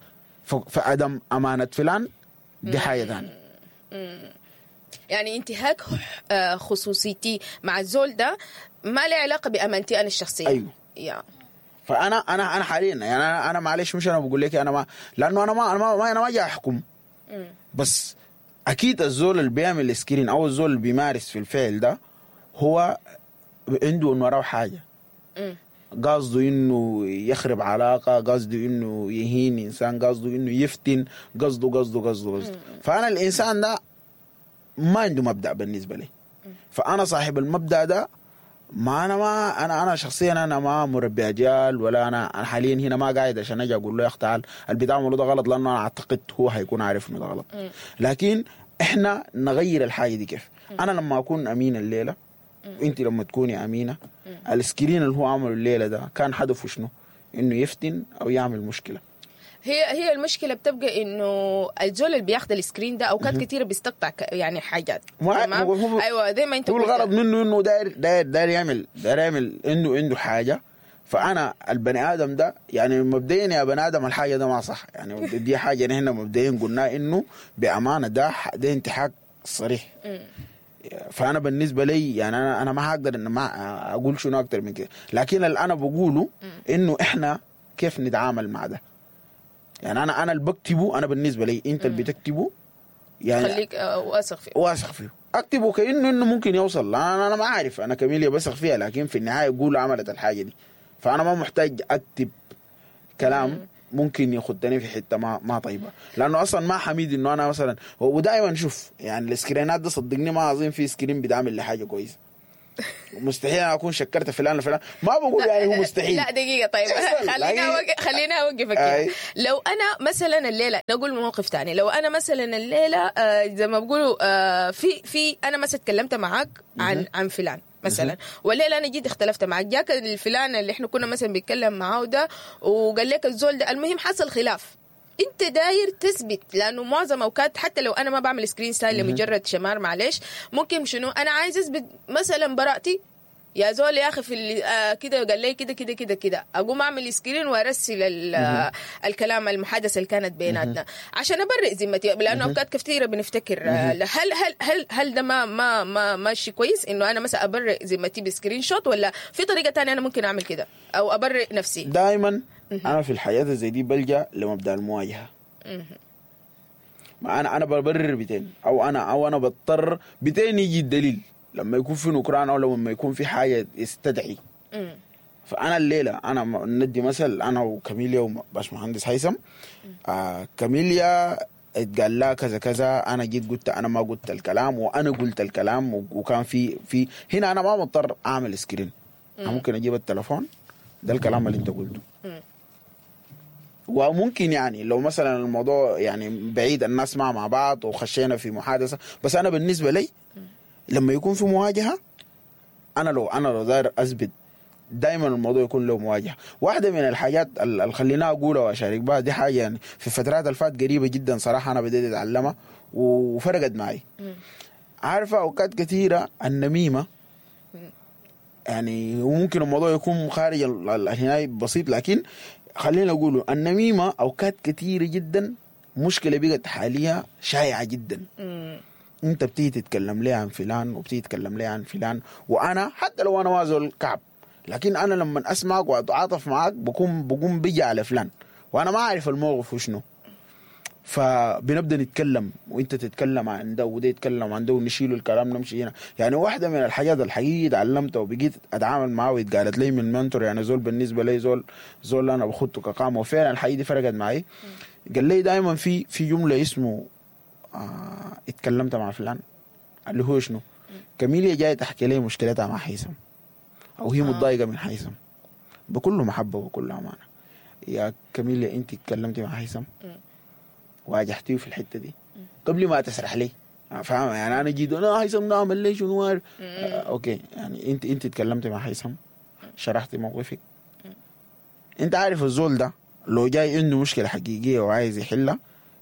ف- فعدم امانه فلان دي حاجة ثانية. يعني انتهاك آه، خصوصيتي مع الزول ده ما له علاقة بامانتي انا الشخصية. أيوه. يا فانا انا انا حاليا يعني انا انا معلش مش انا بقول لك انا ما لانه انا ما انا ما, ما انا ما جاي احكم، بس اكيد الزول اللي بيعمل screen او الزول اللي بيمارس في الفعل ده هو عنده انه وراه حاجة، قصده انه يخرب علاقة، قصده انه يهين انسان، قصده انه يفتن، قصده قصده قصده قصده. فانا الانسان ده ما عنده مبدا بالنسبة لي، فانا صاحب المبدا ده ما انا ما انا انا شخصيا انا ما مربي اجيال، ولا انا انا حاليا هنا ما قاعد عشان اجي اقول له يا اخ تعال اللي بتعمله ده غلط، لانه انا اعتقد هو هيكون عارف انه ده غلط. لكن احنا نغير الحاجة دي كيف؟ انا لما اكون امين الليلة وانت لما تكوني امينه، ال screen اللي هو عمله الليلة ده كان هدفه شنو؟ انه يفتن او يعمل مشكلة. هي هي المشكلة بتبقى انه الزول اللي بياخد ال screen ده اوقات كثيرة بيستقطع ك- يعني حاجات. ما- تمام؟ هو- ايوه زي ما انت هو قلت. الغرض منه انه داير داير داير يعمل داير يعمل انه عنده حاجة. فانا البني ادم ده يعني مبدئيا يا بني ادم الحاجة ده ما صح، يعني دي حاجة نحن مبدئيا قلنا انه بامانه ده ح- ده انتهاك صريح. فانا بالنسبة لي يعني انا انا ما هقدر ان ما اقول شنو اكتر من كده، لكن اللي انا بقوله انه احنا كيف نتعامل مع ده. يعني انا انا اللي بكتبه، انا بالنسبة لي انت اللي بتكتبه يعني خليك آه، واثق فيه. واثق فيه، اكتبه كانه انه ممكن يوصل. لا انا انا ما عارف، انا كميليا بثق فيها، لكن في النهاية يقول عملت الحاجة دي، فانا ما محتاج اكتب كلام ممكن ياخدني في حتة ما ما طيبة، لانه اصلا ما حميد انه انا مثلا، ودائما شوف يعني ال screen ات ده صدقني ما اظن في screen بيتعمل لحاجة كويسة. مستحيل انا اكون شكرت فلان لفلان، ما بقول يعني هو مستحيل. لا دقيقة طيب خلينا أوقف، خلينا اوقفك. لو انا مثلا الليلة نقول موقف ثاني، لو انا مثلا الليلة آه زي ما بيقولوا آه في في انا مثلا تكلمت معاك عن عن فلان مثلا، والليلة انا جيت اختلفت معك، جاك الفلان اللي احنا كنا مثلا بنتكلم معاه ده وقال لك الزول ده، المهم حصل خلاف، انت داير تثبت، لانه معظم اوقات حتى لو انا ما بعمل screen ساي لمجرد شمار معلش، ممكن شنو انا عايز اثبت مثلا براءتي، يا زول يا اخي في آه كده قال لي كده كده كده كده، اقوم اعمل screen وارسل آه الكلام المحادثة اللي كانت بيناتنا عشان ابرئ ذمتي، لانه اوقات كثيرة بنفتكر آه هل هل هل هل ده ما ما ما ماشي كويس انه انا مثلا ابرئ ذمتي ب screenshot، ولا في طريقه ثانية انا ممكن اعمل كده او ابرئ نفسي؟ دائما انا في الحياة زي دي بلجأ لمبدا المواجهة. ما انا انا ببرر بتين او انا او انا بضطر بتين يجي الدليل لما يكون في نكران او لما يكون في حاجة يستدعي. فانا الليلة انا ندي مثل، انا وكاميليا وباشمهندس هيثم، آه كاميليا اتقال لها كذا كذا، انا جيت قلت انا ما قلت الكلام وانا قلت الكلام، وكان في في هنا انا ما مضطر اعمل screen، انا ممكن اجيب التلفون ده الكلام اللي انت قلته. وممكن يعني لو مثلا الموضوع يعني بعيد الناس مع مع بعض وخشينا في محادثة، بس انا بالنسبة لي لما يكون في مواجهة، انا لو انا لو داير اثبت دائما الموضوع يكون له مواجهة. واحدة من الحاجات اللي خلينا اقولها واشارك بها دي حاجة يعني في الفترات الفات قريبه جدا صراحة انا بديت اتعلمها وفرقت معي. عارفه اوقات كثيرة النميمة يعني، وممكن الموضوع يكون خارج الهناي بسيط، لكن خلينا نقوله النميمة اوقات كثيرة جدا مشكلة بقت حاليا شائعة جدا. مم. انت بتيجي تتكلم لي عن فلان وبتيجي تتكلم لي عن فلان، وانا حتى لو انا ما زول كعب، لكن انا لما اسمعك واتعاطف معك بكون بقوم بيجي على فلان وانا ما اعرف الموقف وشنو، فبنبدا نتكلم وانت تتكلم عن ده وده يتكلم عن ده ونشيل الكلام نمشي هنا. يعني واحدة من الحاجات الحقيقية تعلمتها وبقيت اتعامل معاه واتقالت لي من mentor، يعني زول بالنسبة لي زول زول انا باخدته كقامه، وفعلا الحقيقة دي فرقت معي. قال لي دائما في في جملة اسمه آه اتكلمت مع فلان، اللي هو شنو؟ كاميليا جاية تحكي لي مشكلتها مع هيثم او هي متضايقة من هيثم، بكل محبة وبكل امانه، يا كاميليا انت اتكلمتي مع هيثم واجهتيه في الحتة دي قبل ما تسرح لي، فاهم يعني؟ انا جيت انا هيثم نعمل لي شنو آه okay، يعني انت انت اتكلمتي مع هيثم، شرحتي موقفك، انت عارف الزول ده لو جاي عنده مشكلة حقيقية وعايز يحلها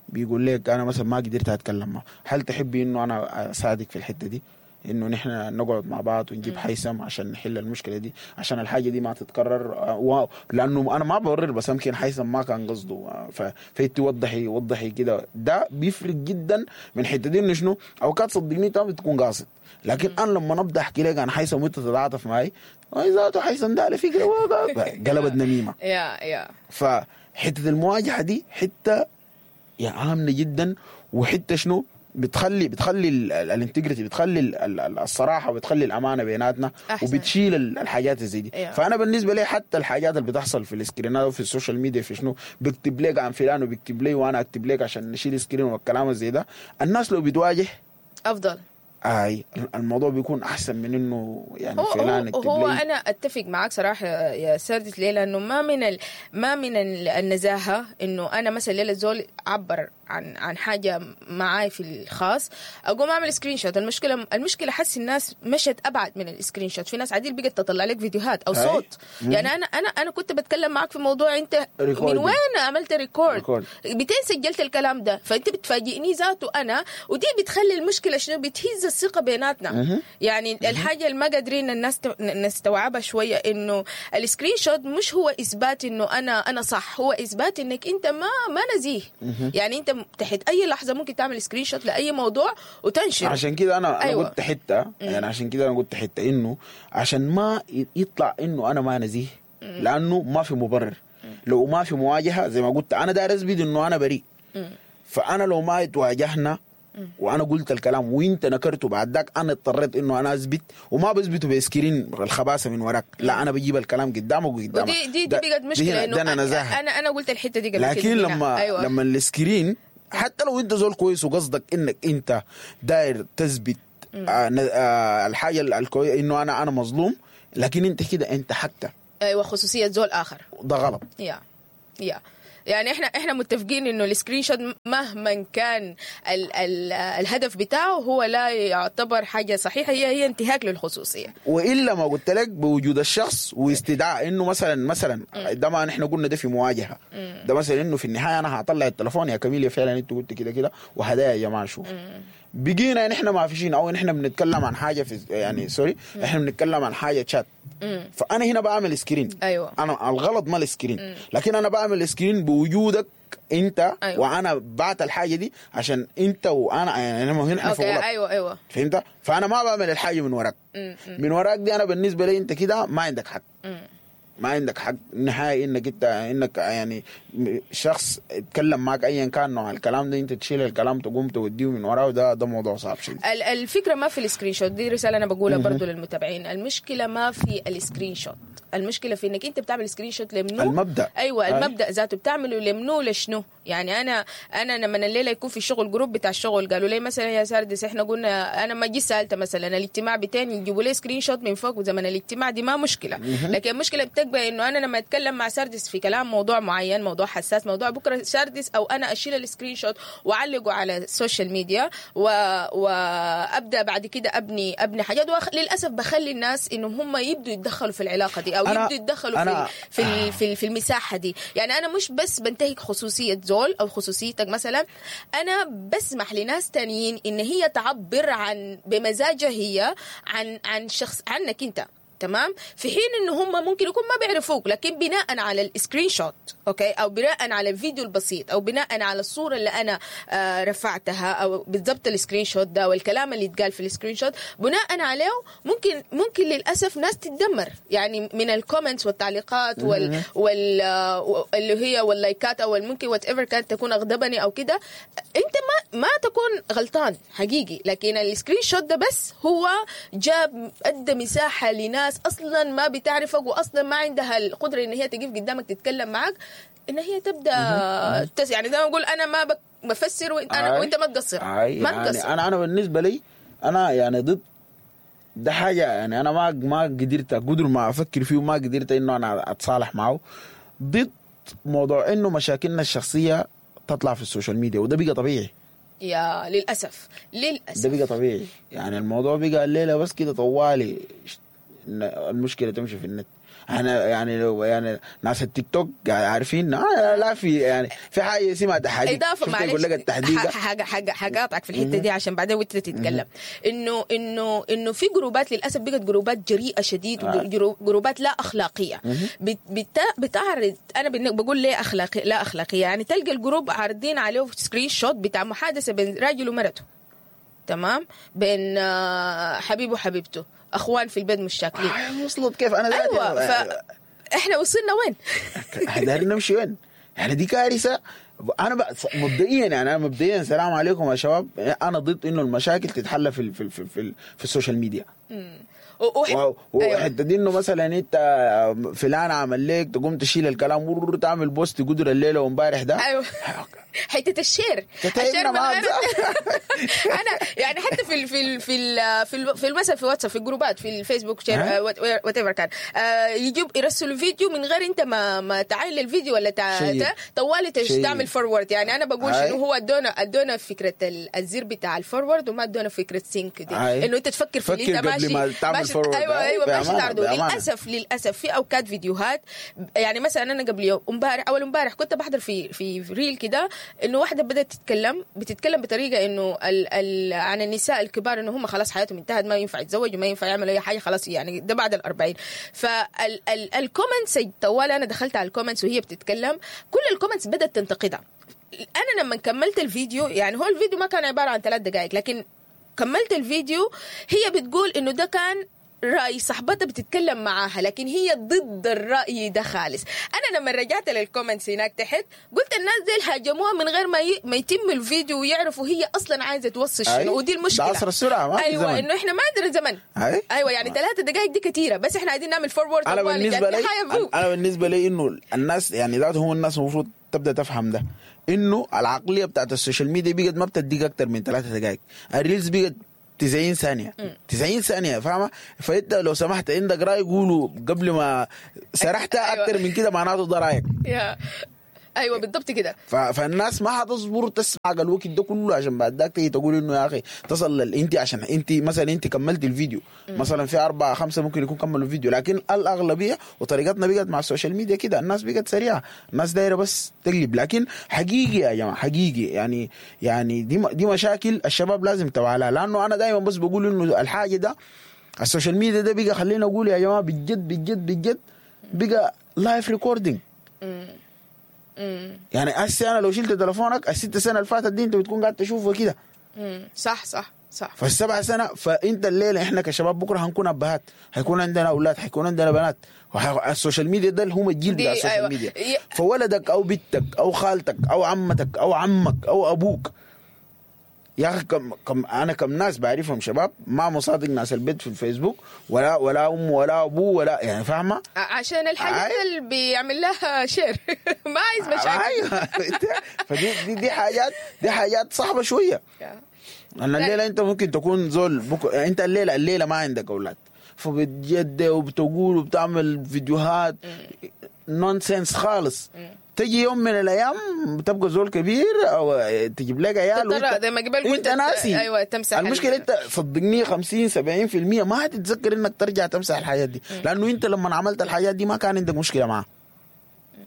بيقول لك انا مثلا ما قدرت اتكلم معه، هل تحبي انه انا اساعدك في الحتة دي، انه نحن نقعد مع بعض ونجيب هيثم عشان نحل المشكلة دي، عشان الحاجة دي ما تتكرر، واو لانه انا ما ببرر بس يمكن هيثم ما كان قصده، فانت وضحي وضحي كده. ده بيفرق جدا من حتة دي انه شنو اوقات صدقني انت بتكون قاصد، لكن انا لما نبدا احكي لك عن هيثم وانت تتعاطف معي، ذاته هيثم ده على فكرة قلبت نميمة. يا يا فحته المواجهة دي حتة يا عامله جدا، وحتة شنو بتخلي بتخلي ال integrity، بتخلي الصراحة وبتخلي الامانة بيناتنا، وبتشيل الحاجات زي دي. yeah. فانا بالنسبة لي حتى الحاجات اللي بتحصل في ال screen ات وفي ال social media في شنو بكتب لك عن فلان وبكتب لي وانا اكتب لك عشان نشيل screen والكلام زي ده، الناس لو بتواجه افضل. اي الموضوع بيكون احسن من انه يعني فلان يكتب لي. هو انا اتفق معاك صراحة يا سردت ليه، لانه ما من ال... ما من النزاهة انه انا مثلا ليلة زول عبر عن عن حاجة معاي في الخاص اقوم اعمل screenshot. المشكلة المشكلة حس الناس مشت ابعد من ال screenshot، في ناس عديل بقت تطلع لك فيديوهات او صوت. مم. يعني انا انا انا كنت بتكلم معاك في موضوع انت recording. من وين عملت record؟ بتين سجلت الكلام ده، فانت بتفاجئني ذاته انا، ودي بتخلي المشكلة شنو، بتهز الثقة بيناتنا. مم. يعني مم. الحاجة اللي ما قادرين الناس نستوعبها شوية انه ال screenshot مش هو اثبات انه انا انا صح، هو اثبات انك انت ما ما نزيه. مم. يعني انت تحت اي لحظة ممكن تعمل screenshot لاي موضوع وتنشر. عشان كده انا انا قلت حتة يعني عشان كده انا قلت حتة انه عشان ما يطلع انه انا ما نزيه، لانه ما في مبرر. لو ما في مواجهة زي ما قلت انا داير اثبت انه انا بريء، فانا لو ما تواجهنا وانا قلت الكلام وانت نكرته بعد ذاك، انا اضطريت انه انا اثبت، وما بثبته ب screen الخباثه من وراك، لا انا بجيب الكلام قدامك وقدامك. ودي دي, دي بقت مشكلة، انه انا نزاهة. انا انا قلت الحتة دي قبل لكن كده. لما أيوة. لما ال screen، حتى لو انت زول كويس وقصدك انك انت داير تثبت آه آه الحاجة الكويسة انه انا انا مظلوم، لكن انت كده انت حتى ايوه خصوصية زول اخر، ده غلط. يا يا يعني احنا احنا متفقين انه ال screenshot مهما كان ال ال الهدف بتاعه هو لا يعتبر حاجة صحيحه، هي هي انتهاك للخصوصيه. والا ما قلت لك بوجود الشخص واستدعاء انه مثلا مثلا ده ما نحن قلنا ده في مواجهة، ده مثلا انه في النهاية انا هطلع التليفون يا كميليا فعلا انت قلت كده كده وهدايا يا جماعة شوف. بقينا نحن ما فيشين، او نحن بنتكلم عن حاجة في يعني sorry، احنا بنتكلم عن حاجة شات، فانا هنا بعمل screen. ايوه انا الغلط ما ال screen، لكن انا بعمل screen بوجودك انت. أيوة. وانا بعت الحاجة دي عشان انت وانا يعني هنا في غلط. ايوه ايوه فهمت؟ فانا ما بعمل الحاجة من وراك. مم. من وراك دي انا بالنسبة لي انت كده ما عندك حق. مم. ما عندك حق نهائي انك انت انك يعني شخص اتكلم معك ايا كان نوع الكلام ده، انت تشيل الكلام تقوم توديه من وراه، ده ده موضوع صعب شديد. الفكرة ما في ال screenshot، دي رسالة انا بقولها برضو للمتابعين، المشكلة ما في ال screenshot، المشكلة في انك انت بتعمل screenshot لمنو؟ المبدا. ايوه المبدا ذاته بتعمله لمنو لشنو؟ يعني انا انا لما الليلة يكون في الشغل group بتاع الشغل قالوا لي مثلا يا ساردس احنا قلنا، انا ما جيت سالت مثلا الاجتماع بتاعي يجيبوا لي screenshot من فوق وزمن الاجتماع، دي ما مشكلة. لكن المشكلة بتبقى انه انا لما اتكلم مع ساردس في كلام موضوع معين، موضوع حساس، موضوع بكره ساردس او انا اشيل ال screenshot واعلقه على ال social media و... وابدا بعد كده ابني ابني حاجات، وأخ... للاسف بخلي الناس انهم هم يبدوا يتدخلوا في العلاقة دي او يبدوا يتدخلوا في في في, في المساحة دي. يعني انا مش بس بنتهك خصوصية زول او خصوصيتك مثلا، انا بسمح لناس تانيين ان هي تعبر عن بمزاجها هي عن عن شخص عنك انت، تمام؟ في حين انه هم ممكن يكون ما بيعرفوك، لكن بناء على ال screenshot okay، او بناء على الفيديو البسيط، او بناء على الصورة اللي انا آه رفعتها، او بالضبط ال screenshot ده والكلام اللي اتقال في ال screenshot، بناء عليه ممكن ممكن للاسف ناس تتدمر يعني من ال comments والتعليقات وال, وال اللي هي واللايكات او ممكن whatever كانت تكون اغضبني او كده. انت ما ما تكون غلطان حقيقي، لكن ال screenshot ده بس هو جاب ادى مساحة لناس اصلا ما بتعرفك واصلا ما عندها القدرة ان هي تقف قدامك تتكلم معك، ان هي تبدا تس يعني زي ما اقول انا ما بفسر وانت انا وانت ما تقصر. ما يعني تقصر. انا انا بالنسبة لي انا يعني ضد ده حاجة، يعني انا ما ما قدرت قدر ما افكر فيه وما قدرت انه انا اتصالح معه، ضد موضوع انه مشاكلنا الشخصية تطلع في ال social media، وده بقى طبيعي يا للاسف للاسف ده بقى طبيعي. يعني الموضوع بقى الليلة بس كده طوالي المشكلة تمشي في النت. احنا يعني لو يعني ناس التيك توك عارفين آه لا في يعني في حاجة اسمها تحديد، اضافه معلش يقول لك التحديد حاجة حاجة حقاطعك في الحتة دي عشان بعدين وانت تتكلم، انه انه انه في جروبات للاسف بقت جروبات جريئة شديد وجروبات لا اخلاقية بتعرض، انا بقول ليه اخلاقية لا اخلاقية، يعني تلقى ال group عارضين عليه screenshot بتاع محادثة بين راجل ومرته، تمام، بين حبيبه وحبيبته، اخوان في البيت مش شاكلين. وصلت كيف انا ذاتي؟ ايوه ف... احنا وصلنا وين؟ احنا نمشي وين؟ يعني دي كارثة. انا بقى مبدئيا يعني انا مبدئيا سلام عليكم يا شباب، انا ضد انه المشاكل تتحل في في في في, في ال social media. وحتة دي انه مثلا انت فلان عمل لك تقوم تشيل الكلام وتعمل post قدر الليلة وامبارح ده. ايوه حتة ال share ال share من غير انا يعني حتى في ال في ال في ال في, ال في المثل في واتساب في الجروبات في الفيسبوك share whatever كان يجيب يرسلوا فيديو من غير انت ما ما تعاين للفيديو ولا طوالي تعمل forward. يعني انا بقول شنو هو ادونا ادونا فكرة الزر بتاع ال forward وما ادونا فكرة think دي، انه انت تفكر في اللي انت ماشي ماشي ايوه ايوه ماشي تعرضه. للاسف للاسف في اوقات فيديوهات، يعني مثلا انا قبل يوم امبارح اول امبارح كنت بحضر في في reel كده انه واحدة بدات تتكلم بتتكلم بطريقة انه ال ال عن النساء الكبار انه هم خلاص حياتهم انتهت، ما ينفع يتزوجوا، ما ينفع يعملوا اي حاجة خلاص، يعني ده بعد الأربعين. فال comments طوال انا دخلت على ال comments وهي بتتكلم، كل ال comments بدات تنتقدها. انا لما كملت الفيديو، يعني هو الفيديو ما كان عبارة عن ثلاث دقائق، لكن كملت الفيديو هي بتقول انه ده كان راي صاحبتها بتتكلم معاها، لكن هي ضد الراي ده خالص. انا لما رجعت لل comments هناك تحت قلت الناس دي هاجموها من غير ما ي... ما يتم الفيديو ويعرفوا هي اصلا عايزه توصل شنو، ودي المشكلة. ده عصر السرعة، ما في ايوه زمن. انه احنا ما عندنا زمن. أي. ايوه يعني ثلاثة دقائق دي كثيرة، بس احنا عايزين نعمل forward. انا بالنسبة لي انا بالنسبة لي انه الناس يعني ذاته هم الناس المفروض تبدا تفهم ده، انه العقلية بتاعت ال social media بقت ما بتديك اكثر من ثلاثة دقائق، ال reels بقت تسعين ثانية، تسعين ثانية، فاهمه؟ فانت لو سمحت عندك راي قوله قبل ما سرحت. أيوة. اكثر من كده معناته ده رايك. يا ايوه بالضبط كده. ف... فالناس ما حتصبر تسمع الوقت ده كله عشان بعد ذاك تيجي تقول انه يا اخي تصل لل... انت عشان انت مثلا انت كملت الفيديو مثلا في اربعة خمسة ممكن يكون كملوا الفيديو، لكن الاغلبية وطريقتنا بقت مع ال social media كده، الناس بقت سريعة، الناس دايرة بس تقلب. لكن حقيقي يا جماعة، حقيقي يعني يعني دي دي مشاكل الشباب لازم توعى لها، لانه انا دايما بس بقول انه الحاجة ده ال social media ده بقى، خلينا اقول يا جماعة بجد بجد بجد بقى live recording. يعني هسه انا لو شلت تليفونك الست سنة اللي فاتت دي انت بتكون قاعد تشوفه كده. صح صح صح. فالسبع سنة، فانت الليلة احنا كشباب بكره هنكون ابهات، هيكون عندنا اولاد، هيكون عندنا بنات، ال social media ده اللي هم الجيل بتاع ال social أيوة. ميديا. فولدك او بنتك او خالتك او عمتك او عمك او ابوك، يا اخي كم كم انا كم ناس بعرفهم شباب ما مصادق ناس البيت في الفيسبوك، ولا ولا امه ولا ابوه ولا يعني، فاهمه؟ عشان الحاجات اللي بيعمل لها share ما عايز مشاكل. ايوه فدي دي, دي حاجات دي حاجات صعبة شوية. انا الليلة انت ممكن تكون زول بك... انت الليلة الليلة ما عندك اولاد، فبتجد وبتقول وبتعمل فيديوهات nonsense خالص. تجي يوم من الايام بتبقى زول كبير او تجيب لك عيال وانت زي ما قبل انت ناسي. ايوه تمسح المشكلة. انت صدقني خمسين سبعين في المية ما هتتذكر انك ترجع تمسح الحاجات دي، لانه انت لما عملت الحاجات دي ما كان عندك مشكلة معها.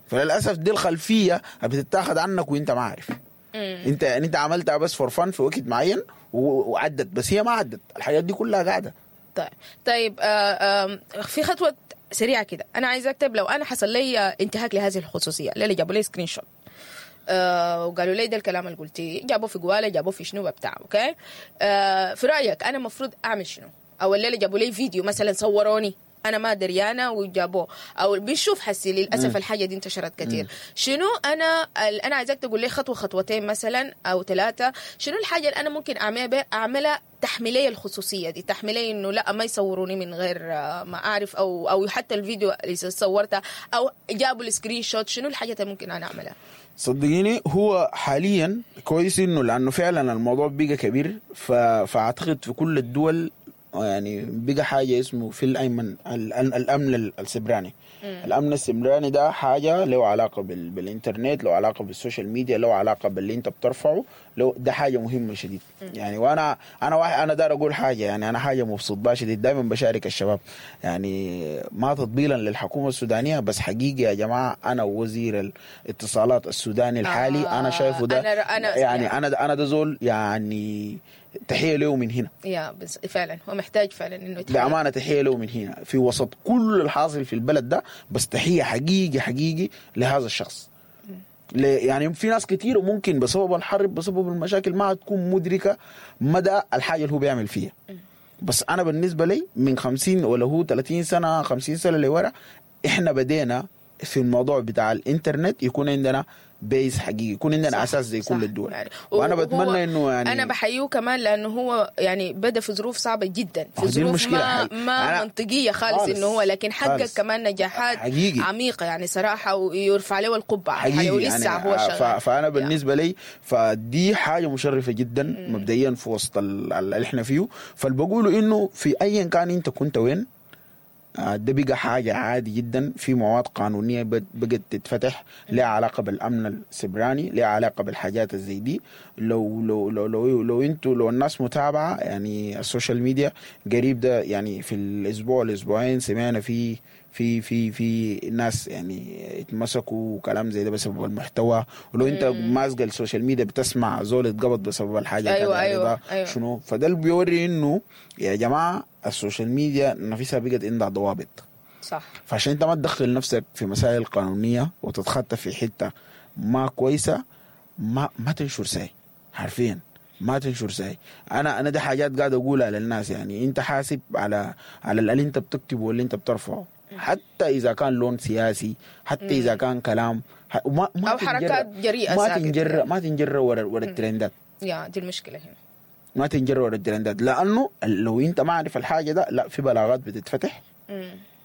فللاسف دي الخلفية بتتاخد عنك وانت ما عارف. انت يعني انت عملتها بس for fun في وقت معين وعدت، بس هي ما عدت، الحاجات دي كلها قاعدة. طيب طيب آه آه في خطوة سريعة كده انا عايزه اكتب، لو انا حصل لي انتهاك لهذه الخصوصية، الليلة جابوا لي screenshot آه وقالوا لي ده الكلام اللي قلتيه، جابوه في جواله، جابوه في شنو بتاع، okay آه في رايك انا المفروض اعمل شنو؟ او الليلة جابوا لي فيديو مثلا صوروني انا ما دريانه وجابوه، او بنشوف حسي للاسف الحاجة دي انتشرت كثير. شنو انا انا عايزاك تقول لي خطوة خطوتين مثلا او ثلاثة، شنو الحاجة اللي انا ممكن اعملها اعملها تحميليه الخصوصية دي، تحميليه انه لا ما يصوروني من غير ما اعرف، او او حتى الفيديو اللي صورته او جابوا ال screenshot، شنو الحاجة اللي ممكن انا اعملها؟ صدقيني هو حاليا كويس انه لانه فعلا الموضوع بقى كبير، ف... فاعتقد في كل الدول يعني بقى حاجة اسمه في الأيمن الأمن السبراني. الأمن السبراني ده حاجة له علاقة بال... بالإنترنت، له علاقة بال social media، له علاقة باللي أنت بترفعه، لو ده حاجة مهمة شديد. يعني وأنا أنا واحد أنا دار أقول حاجة، يعني أنا حاجة مبسوط بها شديد، دائما بشارك الشباب، يعني ما تطبيلا للحكومة السودانية، بس حقيقي يا جماعة أنا وزير الاتصالات السوداني الحالي آه أنا شايفه ده أنا أنا يعني أنا أنا ده زول يعني تحية له من هنا. يا بس فعلا هو محتاج فعلا انه يتحية. بأمانة تحية له من هنا في وسط كل الحاصل في البلد ده، بس تحية حقيقي حقيقي لهذا الشخص. يعني في ناس كتير ممكن بسبب الحرب بسبب المشاكل ما تكون مدركة مدى الحاجة اللي هو بيعمل فيها. بس أنا بالنسبة لي من خمسين ولا هو ثلاثين سنة خمسين سنة لورا إحنا بدينا في الموضوع بتاع الإنترنت يكون عندنا base حقيقي، يكون عندنا صح اساس زي صح كل الدول يعني. وانا بتمنى انه يعني انا بحييه كمان لانه هو يعني بدا في ظروف صعبة جدا، في ظروف ما, ما منطقية خالص, خالص انه هو، لكن حقق كمان نجاحات حقيقي عميقة يعني صراحة، ويرفع له القبعة حقيقي ولسه يعني هو شغال. فانا بالنسبة لي فدي حاجة مشرفة جدا مم. مبدئيا في وسط اللي احنا فيه. فالبقوله انه في ايا كان انت كنت وين، ده بقى حاجة عادي جدا، في مواد قانونية بقت تتفتح لها علاقة بالأمن السبراني، لها علاقة بالحاجات زي دي. لو لو لو لو لو انتوا لو الناس متابعة يعني ال social media قريب ده، يعني في الأسبوع الأسبوعين سمعنا في في في في ناس يعني اتمسكوا وكلام زي ده بسبب المحتوى. ولو انت ماسك ال social media بتسمع زول اتقبض بسبب الحاجة. ايوه ايوه, أيوة. شنو فده اللي بيوري انه يا جماعة ال social media نفسها بقت عندها ضوابط. صح. فعشان انت ما تدخل نفسك في مسائل قانونية وتتخطى في حتة ما كويسة، ما ما تنشر ساي حرفيا، ما تنشر ساي. انا انا دي حاجات قاعد اقولها للناس، يعني انت حاسب على على اللي انت بتكتبه واللي انت بترفعه، حتى اذا كان لون سياسي، حتى اذا كان كلام ما ما او حركات جريئة، ما تنجر ما تنجر ورا ورا الترندات. يا دي المشكلة هنا، ما تنجر ورا الترندات، لانه لو انت ما عارف الحاجة ده، لا في بلاغات بتتفتح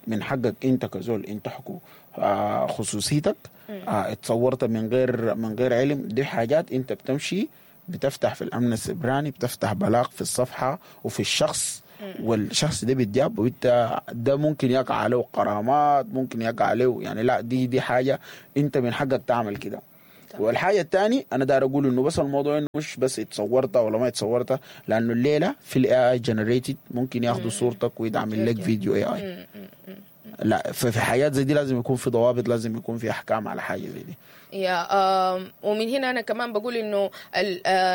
من حقك انت كزول انت حكو آه خصوصيتك، آه اتصورت من غير من غير علم. دي حاجات انت بتمشي بتفتح في الامن السبراني، بتفتح بلاغ في الصفحة وفي الشخص، والشخص ده بيتجاب، وانت ده ممكن يقع عليه غرامات، ممكن يقع عليه يعني لا دي دي حاجة انت من حقك تعمل كده. والحاجة الثانية انا داير اقول انه بس الموضوع انه مش بس اتصورت ولا ما اتصورت، لانه الليلة في ال AI generated ممكن ياخذوا صورتك ويدعمل لك فيديو AI. لا ففي حاجات زي دي لازم يكون في ضوابط، لازم يكون في احكام على حاجة زي دي. يا ومن هنا انا كمان بقول انه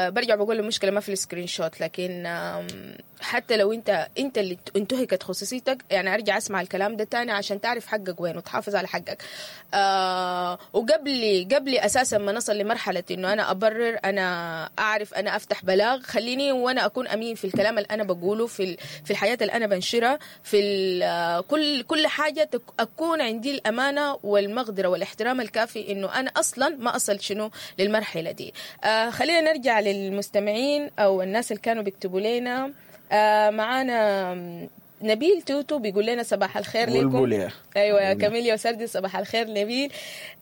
برجع بقول المشكلة ما في ال screenshot، لكن حتى لو انت انت اللي انتهكت خصوصيتك، يعني ارجع اسمع الكلام ده تاني عشان تعرف حقك وين وتحافظ على حقك. آه وقبل قبل اساسا ما نصل لمرحلة انه انا ابرر، انا اعرف، انا افتح بلاغ، خليني وانا اكون امين في الكلام اللي انا بقوله، في في الحياة اللي انا بنشرها، في كل كل حاجة اكون عندي الامانة والمقدره والاحترام الكافي انه انا اصلا ما اصل شنو للمرحلة دي. آه خلينا نرجع للمستمعين او الناس اللي كانوا بيكتبوا لنا. آه معانا نبيل توتو بيقول لنا صباح الخير لكم. ايوه يا كاميليا وسردي، صباح الخير نبيل.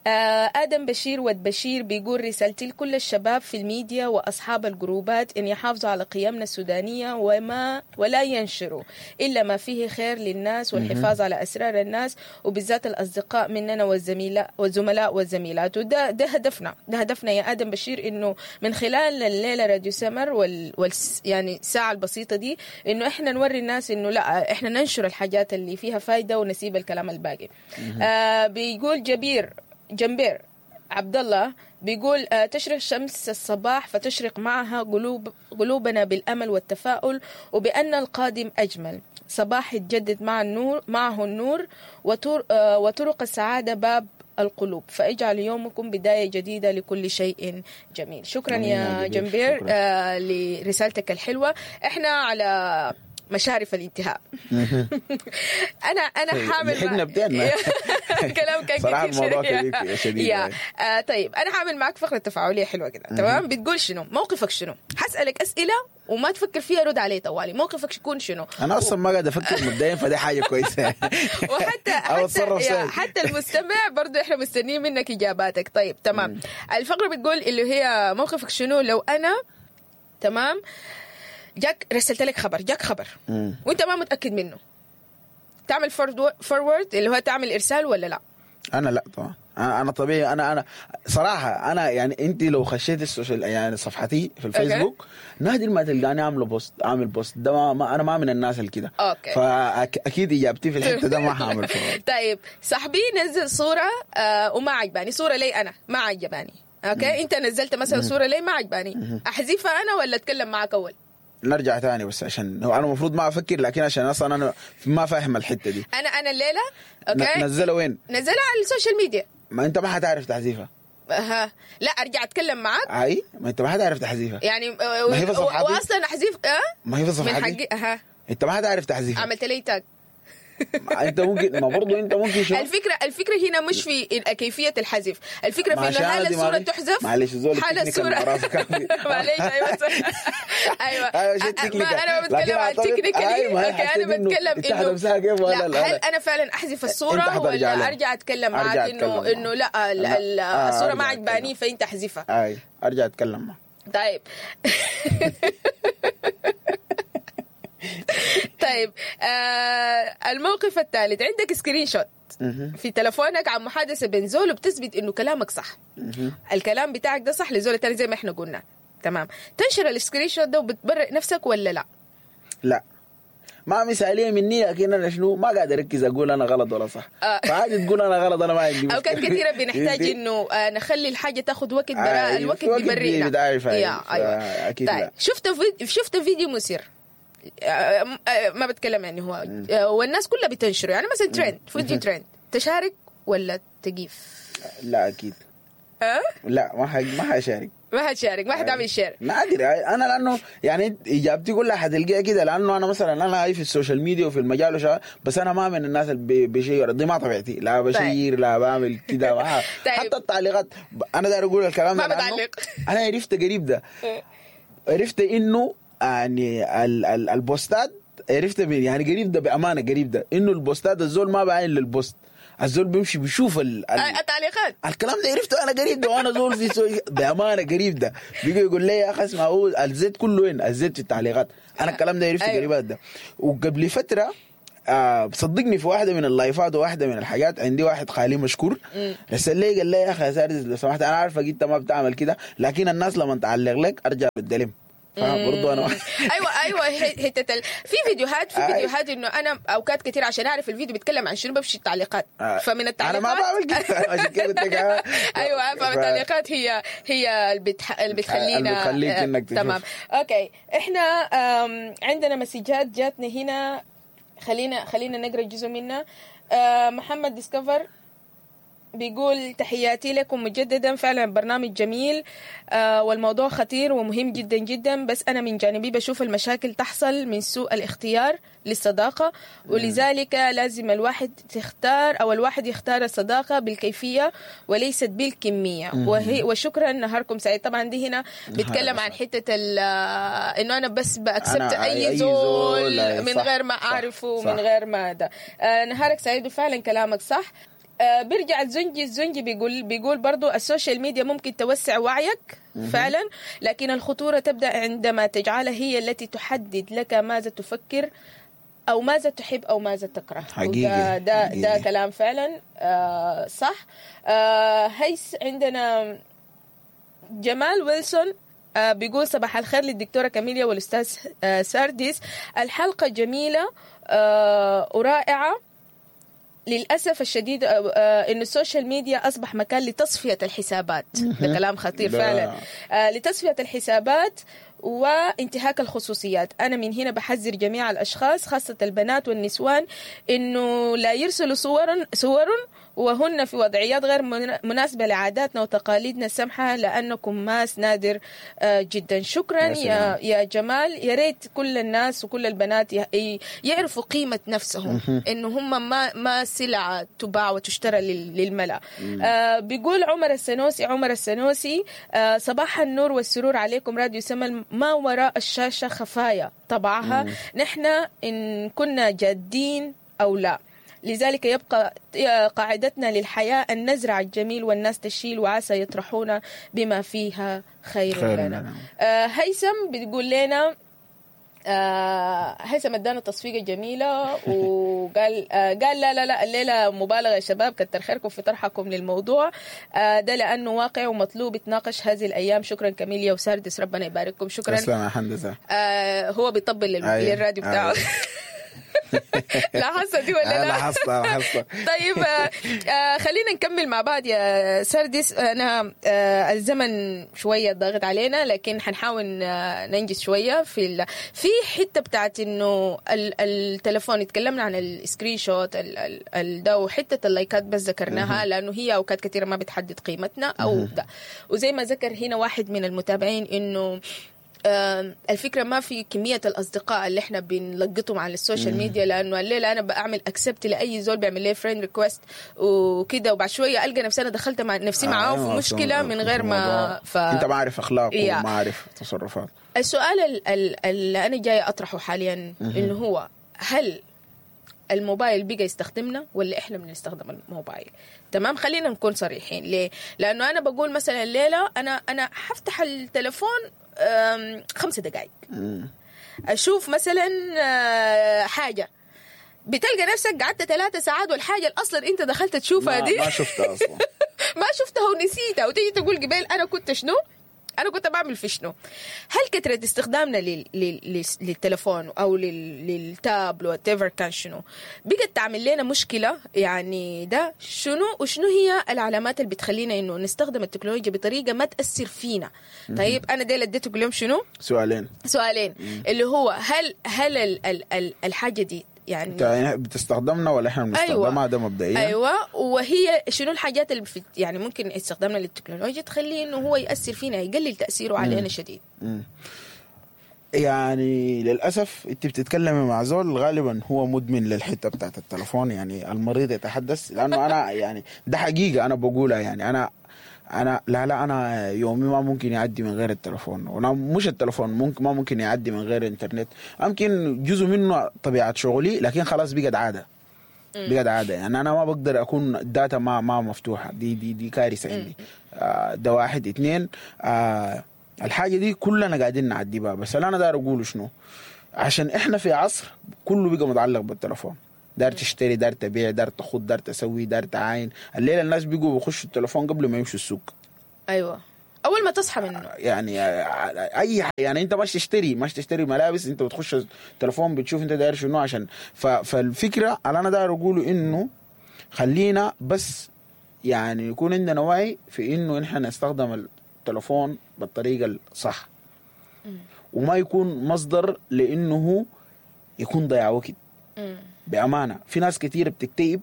آه ادم بشير ود بشير بيقول رسالتي لكل الشباب في الميديا واصحاب الجروبات ان يحافظوا على قيمنا السودانية وما ولا ينشروا الا ما فيه خير للناس والحفاظ على اسرار الناس، وبالذات الاصدقاء مننا والزميلاء والزملاء والزميلات. وده ده هدفنا، ده هدفنا يا ادم بشير، انه من خلال الليلة راديو سمر وال, وال يعني الساعة البسيطة دي انه احنا نوري الناس انه لا، احنا ننشر الحاجات اللي فيها فايده ونسيب الكلام الباقي. آه بيقول جبير جنبير عبد الله بيقول آه تشرق شمس الصباح فتشرق معها قلوب قلوبنا بالامل والتفاؤل، وبان القادم اجمل. صباح يتجدد مع النور، معه النور، وطر آه وطرق السعادة باب القلوب، فاجعل يومكم بداية جديدة لكل شيء جميل. شكرا يا جنبير شكرا. آه لرسالتك الحلوة. احنا على مشارف الانتهاء. انا انا حامل لحقنا بدينا كلام كان صراحة الموضوع كبير شديد. آه طيب انا حامل معك فقره تفاعلية حلوة كده، تمام؟ بتقول شنو موقفك؟ شنو حسالك اسئلة وما تفكر فيها، رد علي طوالي. موقفك يكون شنو؟ انا اصلا ما قاعد افكر مبدئيا، فدي حاجة كويسة. وحتى حتى حتى المستمع برضو احنا مستنيين منك اجاباتك. طيب تمام. الفقرة بتقول اللي هي موقفك شنو لو انا، تمام، جاك رسلت لك خبر، جاك خبر مم. وانت ما متاكد منه، تعمل forward اللي هو تعمل ارسال ولا لا؟ انا لا طبعا، انا انا طبيعي، انا انا صراحة انا يعني انت لو خشيت ال social يعني صفحتي في الفيسبوك نادر ما تلقاني عامله post، عامل post ده ما, ما انا ما من الناس اللي كده. فاكيد اجابتي في الحتة ده ما هعمل forward. طيب صاحبي نزل صوره آه وما عجباني، صوره لي انا ما عجباني، okay؟ مم. انت نزلت مثلا صوره لي ما عجباني، احذفها انا ولا اتكلم معك اول؟ نرجع تاني بس عشان هو انا المفروض ما افكر، لكن عشان اصلا انا ما فاهم الحتة دي. انا انا الليلة okay نزلها وين؟ نزلها على ال social media. ما انت ما حتعرف تحذيفها. ها لا ارجع اتكلم معاك. اي ما انت ما حتعرف تحذيفها يعني ما هي في صفحتي واصلا احذف. اه ما هي في صفحتي من حقي. ها انت ما حتعرف تحذيفها. عملت لي tag. انت ممكن ما برضه انت ممكن شو الفكرة الفكرة هنا مش في كيفية الحذف، الفكرة في انه هل الصورة تحذف. معلش الزول هل الصورة معلش ايوه ايوه ايوه انا ما بتكلم عن technically، okay انا بتكلم انه لا هل انا فعلا احذف الصورة ولا ارجع اتكلم معاك انه انه لا الصورة ما عجباني فانت احذفها؟ اي ارجع اتكلم معك. طيب طيب آه الموقف الثالث، عندك screenshot في تلفونك عن محادثة بين زول وبتثبت انه كلامك صح، الكلام بتاعك ده صح لزول الثاني زي ما احنا قلنا، تمام؟ تنشر ال screenshot ده وبتبرئ نفسك ولا لا؟ لا ما مثاليه مني، لكن انا شنو ما قاعد اركز اقول انا غلط ولا صح. آه. فعادي تقول انا غلط، انا ما عندي مشكلة. اوقات كثيرة بنحتاج انه نخلي الحاجة تاخذ وقت براء، الوقت بيبرئنا. ايوه اكيد. طيب شفت فيديو شفت فيديو مثير، ما بتكلم يعني هو والناس كلها بتنشره، يعني مثلا ترند، فيديو ترند، تشارك ولا تقيف؟ لا اكيد. أه؟ لا ما ح... ما حشارك. ما حتشارك، ما حتعمل share. نادر. انا لانه يعني اجابتي كلها حتلقيها كده، لانه انا مثلا انا هاي في ال social media وفي المجال وشغال، بس انا ما من الناس اللي بشير، دي ما طبيعتي، لا بشير لا بعمل كده. طيب. حتى التعليقات انا داير اقول الكلام ما ده لأنه بتعلق. انا عرفت قريب ده، عرفت انه يعني ال ال البوستات، عرفت من يعني قريب ده بامانه، قريب ده انه البوستات الزول ما بعين لل post، الزول بيمشي بيشوف ال ال التعليقات. الكلام ده عرفته انا قريب ده، وانا زول في سوي بامانه قريب ده بيجي يقول لي يا اخي اسمع، هو الزيت كله وين؟ الزيت في التعليقات. انا الكلام ده عرفته أيوة. قريب ده. وقبل فترة آه صدقني في واحدة من اللايفات وواحدة من الحاجات عندي واحد خالي مشكور رسل لي قال لي يا اخي يا ساردس لو سمحت، انا عارفك انت ما بتعمل كده، لكن الناس لما تعلق لك ارجع بالدلم. فبرضه انا ايوه ايوه حتة ال... في فيديوهات، في أي. فيديوهات انه انا اوقات كثير عشان اعرف الفيديو بيتكلم عن شنو بمشي التعليقات، آه. فمن التعليقات انا ما بعمل كده، عشان كده قلت لك آه. ايوه ف- فالتعليقات هي هي اللي بتح... اللي بتخلينا اللي بتخليك آه، إنك تشوف. تمام. okay، احنا آم، عندنا مسجات جاتنا هنا، خلينا خلينا نقرا جزء منها. آه، محمد ديسكفر بيقول تحياتي لكم مجددا، فعلا برنامج جميل آه والموضوع خطير ومهم جدا جدا، بس أنا من جانبي بشوف المشاكل تحصل من سوء الاختيار للصداقة، ولذلك لازم الواحد تختار أو الواحد يختار الصداقة بالكيفية وليست بالكمية. وهي وشكرا، نهاركم سعيد. طبعا دي هنا بيتكلم عن حتة ال- آه، إنه أنا بس ب accept أنا أي أي زول زول، أي من صح، غير ما صح، أعرفه، صح. من غير ما ده. آه نهارك سعيد، وفعلا كلامك صح. آه بيرجع الزنجي، الزنجي بيقول بيقول برضو ال social media ممكن توسع وعيك فعلا، لكن الخطورة تبدأ عندما تجعلها هي التي تحدد لك ماذا تفكر أو ماذا تحب أو ماذا تكره. حقيقي، وده ده, ده حقيقي. كلام فعلا آه صح. آه هيس عندنا جمال ويلسون آه، بيقول صباح الخير للدكتورة كاميليا والأستاذ آه، سارديس، الحلقة جميلة آه، ورائعة. للأسف الشديد آه، آه، إنه ال social media أصبح مكان لتصفية الحسابات. ده كلام خطير ده- فعلا. آه، لتصفية الحسابات وانتهاك الخصوصيات. أنا من هنا بحذر جميع الأشخاص خاصة البنات والنسوان إنه لا يرسلوا صورا صور وهن في وضعيات غير من- مناسبة لعاداتنا وتقاليدنا السمحة، لأنكم ماس نادر آه، جدا. شكرا يا يا سلام. يا جمال. يا ريت كل الناس وكل البنات ي- يعرفوا قيمة نفسهم، إنه هم ما ما سلعة تباع وتشترى لل- للملأ. آه بيقول عمر السنوسي، عمر السنوسي آه صباح النور والسرور عليكم راديو سمل، ما وراء الشاشة خفايا طبعها، نحن إن كنا جادين أو لا، لذلك يبقى قاعدتنا للحياة أن نزرع الجميل والناس تشيل، وعسى يطرحون بما فيها خير, خير لنا. لنا. آه هيثم بتقول لنا آه هيثم ادانا تصفيقه جميلة وقال آه قال لا لا لا الليلة مبالغه يا شباب، كتر خيركم في طرحكم للموضوع آه ده لانه واقع ومطلوب يتناقش هذه الايام. شكرا كاميليا وساردس، ربنا يبارككم. شكرا. تسلم يا هندسة. آه هو بيطبل لل- أيوة. للراديو بتاعه. أيوة. لاحظت دي ولا آه، لا؟ لاحظت لاحظت. طيب آه، آه، خلينا نكمل مع بعض يا سردس. انا آه، الزمن شوية ضاغط علينا، لكن حنحاول آه، ننجز شوية في ال... في حتة بتاعت انه ال... التليفون، اتكلمنا عن ال screenshot ال... ال... ال... ده، وحتة اللايكات بس ذكرناها لانه هي اوقات كثيرة ما بتحدد قيمتنا او ده. وزي ما ذكر هنا واحد من المتابعين انه آم، الفكرة ما في كمية الاصدقاء اللي احنا بنلقطهم على ال social media، لانه الليلة انا بعمل accept لاي زول بيعمل لي friend request وكده، وبعد شوية القى نفسي انا دخلت مع نفسي معاه في أيوة، مشكلة من غير ما ف... انت ما عارف اخلاقه يا. وما عارف تصرفاته. السؤال ال- ال- اللي انا جاية اطرحه حاليا انه هو هل الموبايل بقى يستخدمنا ولا احنا بنستخدم الموبايل؟ تمام، خلينا نكون صريحين. ليه؟ لانه انا بقول مثلا الليلة انا انا حفتح التليفون أم، خمسة دقائق اشوف مثلا آه، حاجة، بتلقى نفسك قعدت ثلاثة ساعات، والحاجة اللي اصلا انت دخلت تشوفها ما, دي ما شفتها اصلا. ما شفتها ونسيتها، وتيجي تقول قبل انا كنت شنو؟ انا كنت بعمل في شنو؟ هل كثرة استخدامنا لل... لل... لل... للتليفون او لل... لل tab whatever كان شنو بقت تعمل لنا مشكلة؟ يعني ده شنو، وشنو هي العلامات اللي بتخلينا انه نستخدم التكنولوجيا بطريقة ما تاثر فينا؟ طيب انا ديل اديته اليوم شنو؟ سؤالين. سؤالين، اللي هو هل هل ال ال ال الحاجة دي يعني انت يعني بتستخدمنا ولا احنا بنستخدمها؟ ده مبدئيا. ايوه، وهي شنو الحاجات اللي في يعني ممكن استخدامنا للتكنولوجيا تخلي انه هو ياثر فينا، يقلل تاثيره علينا شديد. مم. يعني للاسف انت بتتكلمي مع زول غالبا هو مدمن للحتة بتاعت التلفون، يعني المريض يتحدث، لانه انا يعني ده حقيقة انا بقولها، يعني انا انا لا لا انا يومي ما ممكن يعدي من غير التلفون، وانا مش التلفون ممكن ما ممكن يعدي من غير الانترنت، يمكن جزء منه طبيعة شغلي، لكن خلاص بقت عادة، بقت عادة. يعني انا ما بقدر اكون ال data ما ما مفتوحة، دي دي دي كارثة عندي. آه ده واحد. اثنين، آه الحاجة دي كلنا قاعدين نعدي بها، بس اللي انا داير اقوله شنو، عشان احنا في عصر كله بقى متعلق بالتلفون، دار تشتري، دار تبيع، دار تخد، دار تسوي، دار تعاين. الليلة الناس بيقوا بيخشوا التلفون قبل ما يمشوا السوق. ايوه، اول ما تصحى منه. يعني اي حاجة، يعني انت مش تشتري مش تشتري ملابس، انت بتخش التلفون بتشوف انت داير شنو عشان ف... فالفكرة اللي انا داير اقوله انه خلينا بس يعني يكون عندنا وعي في انه احنا نستخدم التلفون بالطريقة الصح، وما يكون مصدر لانه هو يكون ضياع وقت. بامانه في ناس كتير بتكتئب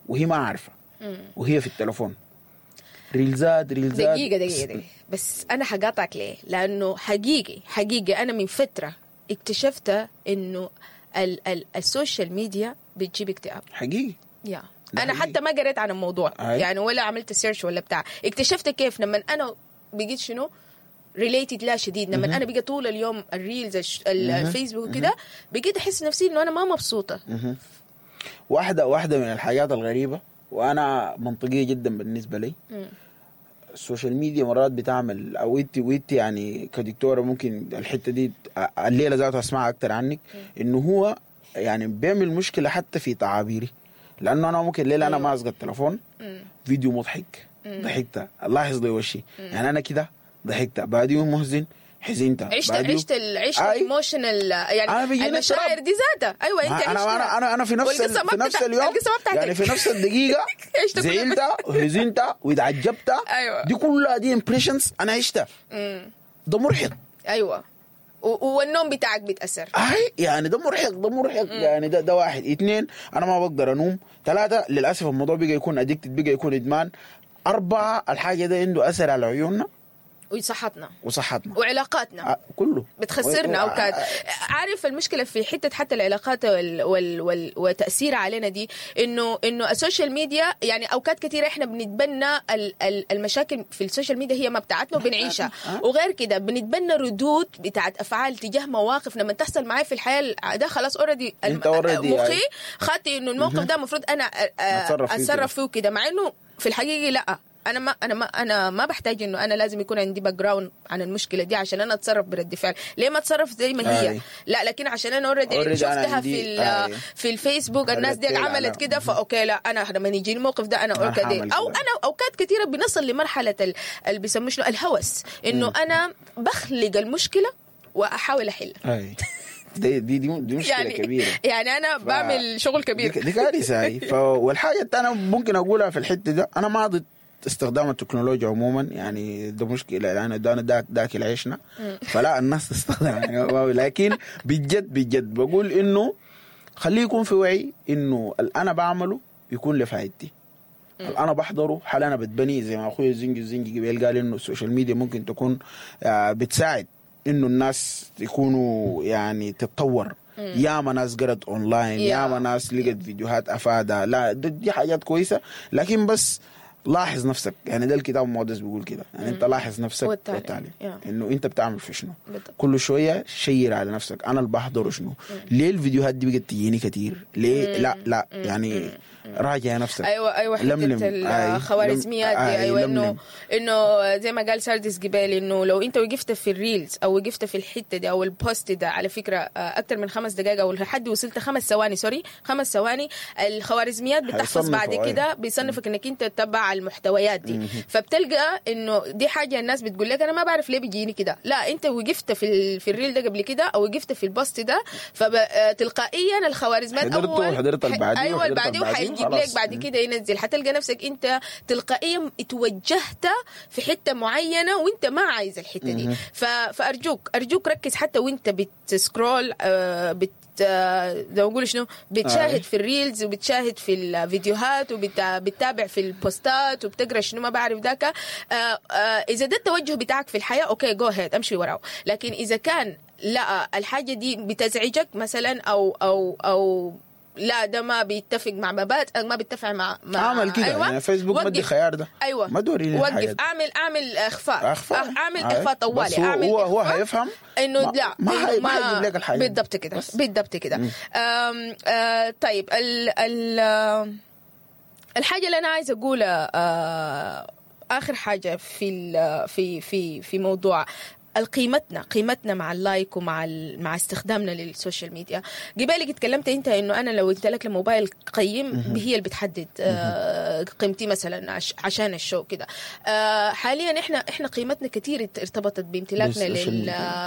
وهي ما عارفه، وهي في التلفون ريلزات ريلزات. دقيقة دقيقة دقيقة بس أنا حقاطعك ليه؟ لأنه حقيقي حقيقي أنا من فترة اكتشفت إنه ال ال ال social media بتجيب اكتئاب حقيقي. يا ده أنا حقيقي. حتى ما قريت عن الموضوع أي. يعني ولا عملت search ولا بتاع. اكتشفت كيف لما أنا بقيت شنو related لا شديد، لما أنا بقى طول اليوم ال reels الش- ال- الفيسبوك وكده، بقيت أحس نفسي إنه أنا ما مبسوطة. واحدة واحدة من الحاجات الغريبة، وأنا منطقية جدا بالنسبة لي، ال social media مرات بتعمل او انت وانت يعني كدكتوره ممكن الحتة دي الليلة ذاتها اسمعها اكتر عنك، انه هو يعني بيعمل مشكلة حتى في تعابيري، لانه انا ممكن الليلة انا ماسك التليفون فيديو مضحك ضحكت، لاحظ لي وشي، يعني انا كده ضحكت، بعديه محزن حزنت، عشت بعديه- عشت ال- عشت أي. ال emotional يعني أنا بيجيني المشاعر اضطراب. دي ذاتها. ايوه انت ما انا عشتها. انا انا انا في نفس ال- والقصة ما في نفس بتاع- اليوم القصة ما بتاعتك. يعني في نفس الدقيقة عشت كل زعلت وحزنت واتعجبت. أيوة. دي كلها دي impressions انا عشتها. ده مرهق. ايوه و- والنوم بتاعك بيتاثر. اي يعني ده مرهق، ده مرهق. يعني ده ده واحد. اثنين، انا ما بقدر انوم. ثلاثة، للاسف الموضوع بقى يكون addicted، بقى يكون ادمان. أربعة، الحاجة ده عنده أثر على عيوننا وصحتنا وصحتنا وعلاقاتنا. آه، كله بتخسرنا و- اوقات. عارف المشكلة في حتة حتى العلاقات وال وال وال وتاثيرها علينا دي، انه انه ال social media يعني اوقات كثيرة احنا بنتبنى ال ال المشاكل في ال social media هي ما بتاعتنا وبنعيشها، وغير كده بنتبنى ردود بتاعت افعال تجاه مواقف لما تحصل معايا في الحياة ده خلاص already أنت already مخي يعني. خدت انه الموقف ده المفروض انا أ- أ- أتصرف فيه كده. اتصرف فيه كده، مع انه في الحقيقة لا، انا ما انا ما انا ما بحتاج انه انا لازم يكون عندي background عن المشكلة دي عشان انا اتصرف برد فعل. ليه ما اتصرف زي ما هي؟ أي. لا، لكن عشان انا already Already أنا شفتها عندي- في ال- أي. في الفيسبوك الناس دي ردت فعل عملت على- كده، ف okay لا انا لما يجيني الموقف ده انا أنا okay هعمل او كده. انا اوقات كثيرة بنصل لمرحلة ال- اللي بيسموه شنو الهوس، انه انا بخلق المشكلة واحاول احلها. اي دي دي دي, دي مشكلة يعني كبيرة. يعني انا ف- بعمل شغل كبير. دي, دي كارثة هاي. ف... والحاجة الثانية ممكن اقولها في الحتة ده، انا ما ضد استخدام التكنولوجيا عموما، يعني ده مشكلة يعني ده انا داك داكل عيشنا، فلا الناس تستخدم يعني، لكن بجد بجد بقول انه خليه يكون في وعي انه اللي انا بعمله يكون لفائدتي، اللي انا بحضره هل انا بتبني زي ما اخوي الزنجي الزنجي قبل قال انه ال social media ممكن تكون آه، بتساعد انه الناس يكونوا يعني تتطور. ياما ناس قرت اونلاين، يا. ياما ناس لقت فيديوهات افادها، لا دي, دي حاجات كويسة، لكن بس لاحظ نفسك. يعني ده الكتاب المقدس بيقول كده، يعني انت لاحظ نفسك والتعليم. والتعليم يا. انه انت بتعمل في شنو. بالضبط. كل شوية share على نفسك انا اللي بحضره شنو، ليه الفيديوهات دي بقت تجيني كتير ليه؟ لا لا يعني راجع نفسك. ايوه ايوه حتة لملم. أي. الخوارزميات دي. أي، ايوه انه لملم. انه زي ما قال ساردس جبال انه لو انت وقفت في ال reels او وقفت في الحتة دي او ال post ده على فكرة آه، اكتر من خمس دقائق او لحد وصلت خمس ثواني، sorry خمس ثواني، الخوارزميات بتحفظ هيصنفوا، بعد أيوة. كده بيصنفك انك انت تبع بتاع المحتويات دي. فبتلقى انه دي حاجة الناس بتقول لك انا ما بعرف ليه بيجيني كده. لا، انت وقفت في ال... في ال reel ده قبل كده او وقفت في ال post ده، فتلقائيا الخوارزميات حضرته اول وحضرت اللي بعديه ايوه وحضرت اللي بعديه اللي بعديه وحيجيب لك وخلاص. بعد كده ينزل. حتلقى نفسك انت تلقائيا اتوجهت في حتة معينة وانت ما عايز الحتة دي. ف... فارجوك ارجوك ركز حتى وانت بت scroll، آه، بت آه، زي ما نقول شنو، بتشاهد آه. في ال reels وبتشاهد في الفيديوهات وبتتابع في البوستات وبتقرا شنو ما بعرف ذاك. آه، آه، اذا ده التوجه بتاعك في الحياه، okay، go ahead، امشي وراه. لكن اذا كان لا، الحاجة دي بتزعجك مثلا او او او لا، ده ما بيتفق مع مبادئك، ما بيتفق مع, مع اعمل كده. أيوة. يعني فيسبوك ما ادي وقف. خيار ده. ايوه. ما توريني وقف. الحاجات. اعمل اعمل اخفاء. اخفاء. اعمل آه. اخفاء طوالي. بس هو اعمل هو هو إخفاء. هيفهم انه ما- لا ما إنه حي- ما حيجيب لك الحاجات دي. بالضبط كده. بس. بالضبط كده. آم، آه طيب، ال ال آه، الحاجة اللي انا عايزه اقولها، آه اخر حاجة في ال في في في موضوع قيمتنا قيمتنا مع ال like ومع ال... مع استخدامنا لل social media. قبالك اتكلمت انت انه انا لو امتلكت موبايل قيم هي اللي بتحدد آه قيمتي مثلا عش... عشان ال show كده. آه حاليا احنا احنا قيمتنا كثير ارتبطت بامتلاكنا بال social لل ميديا.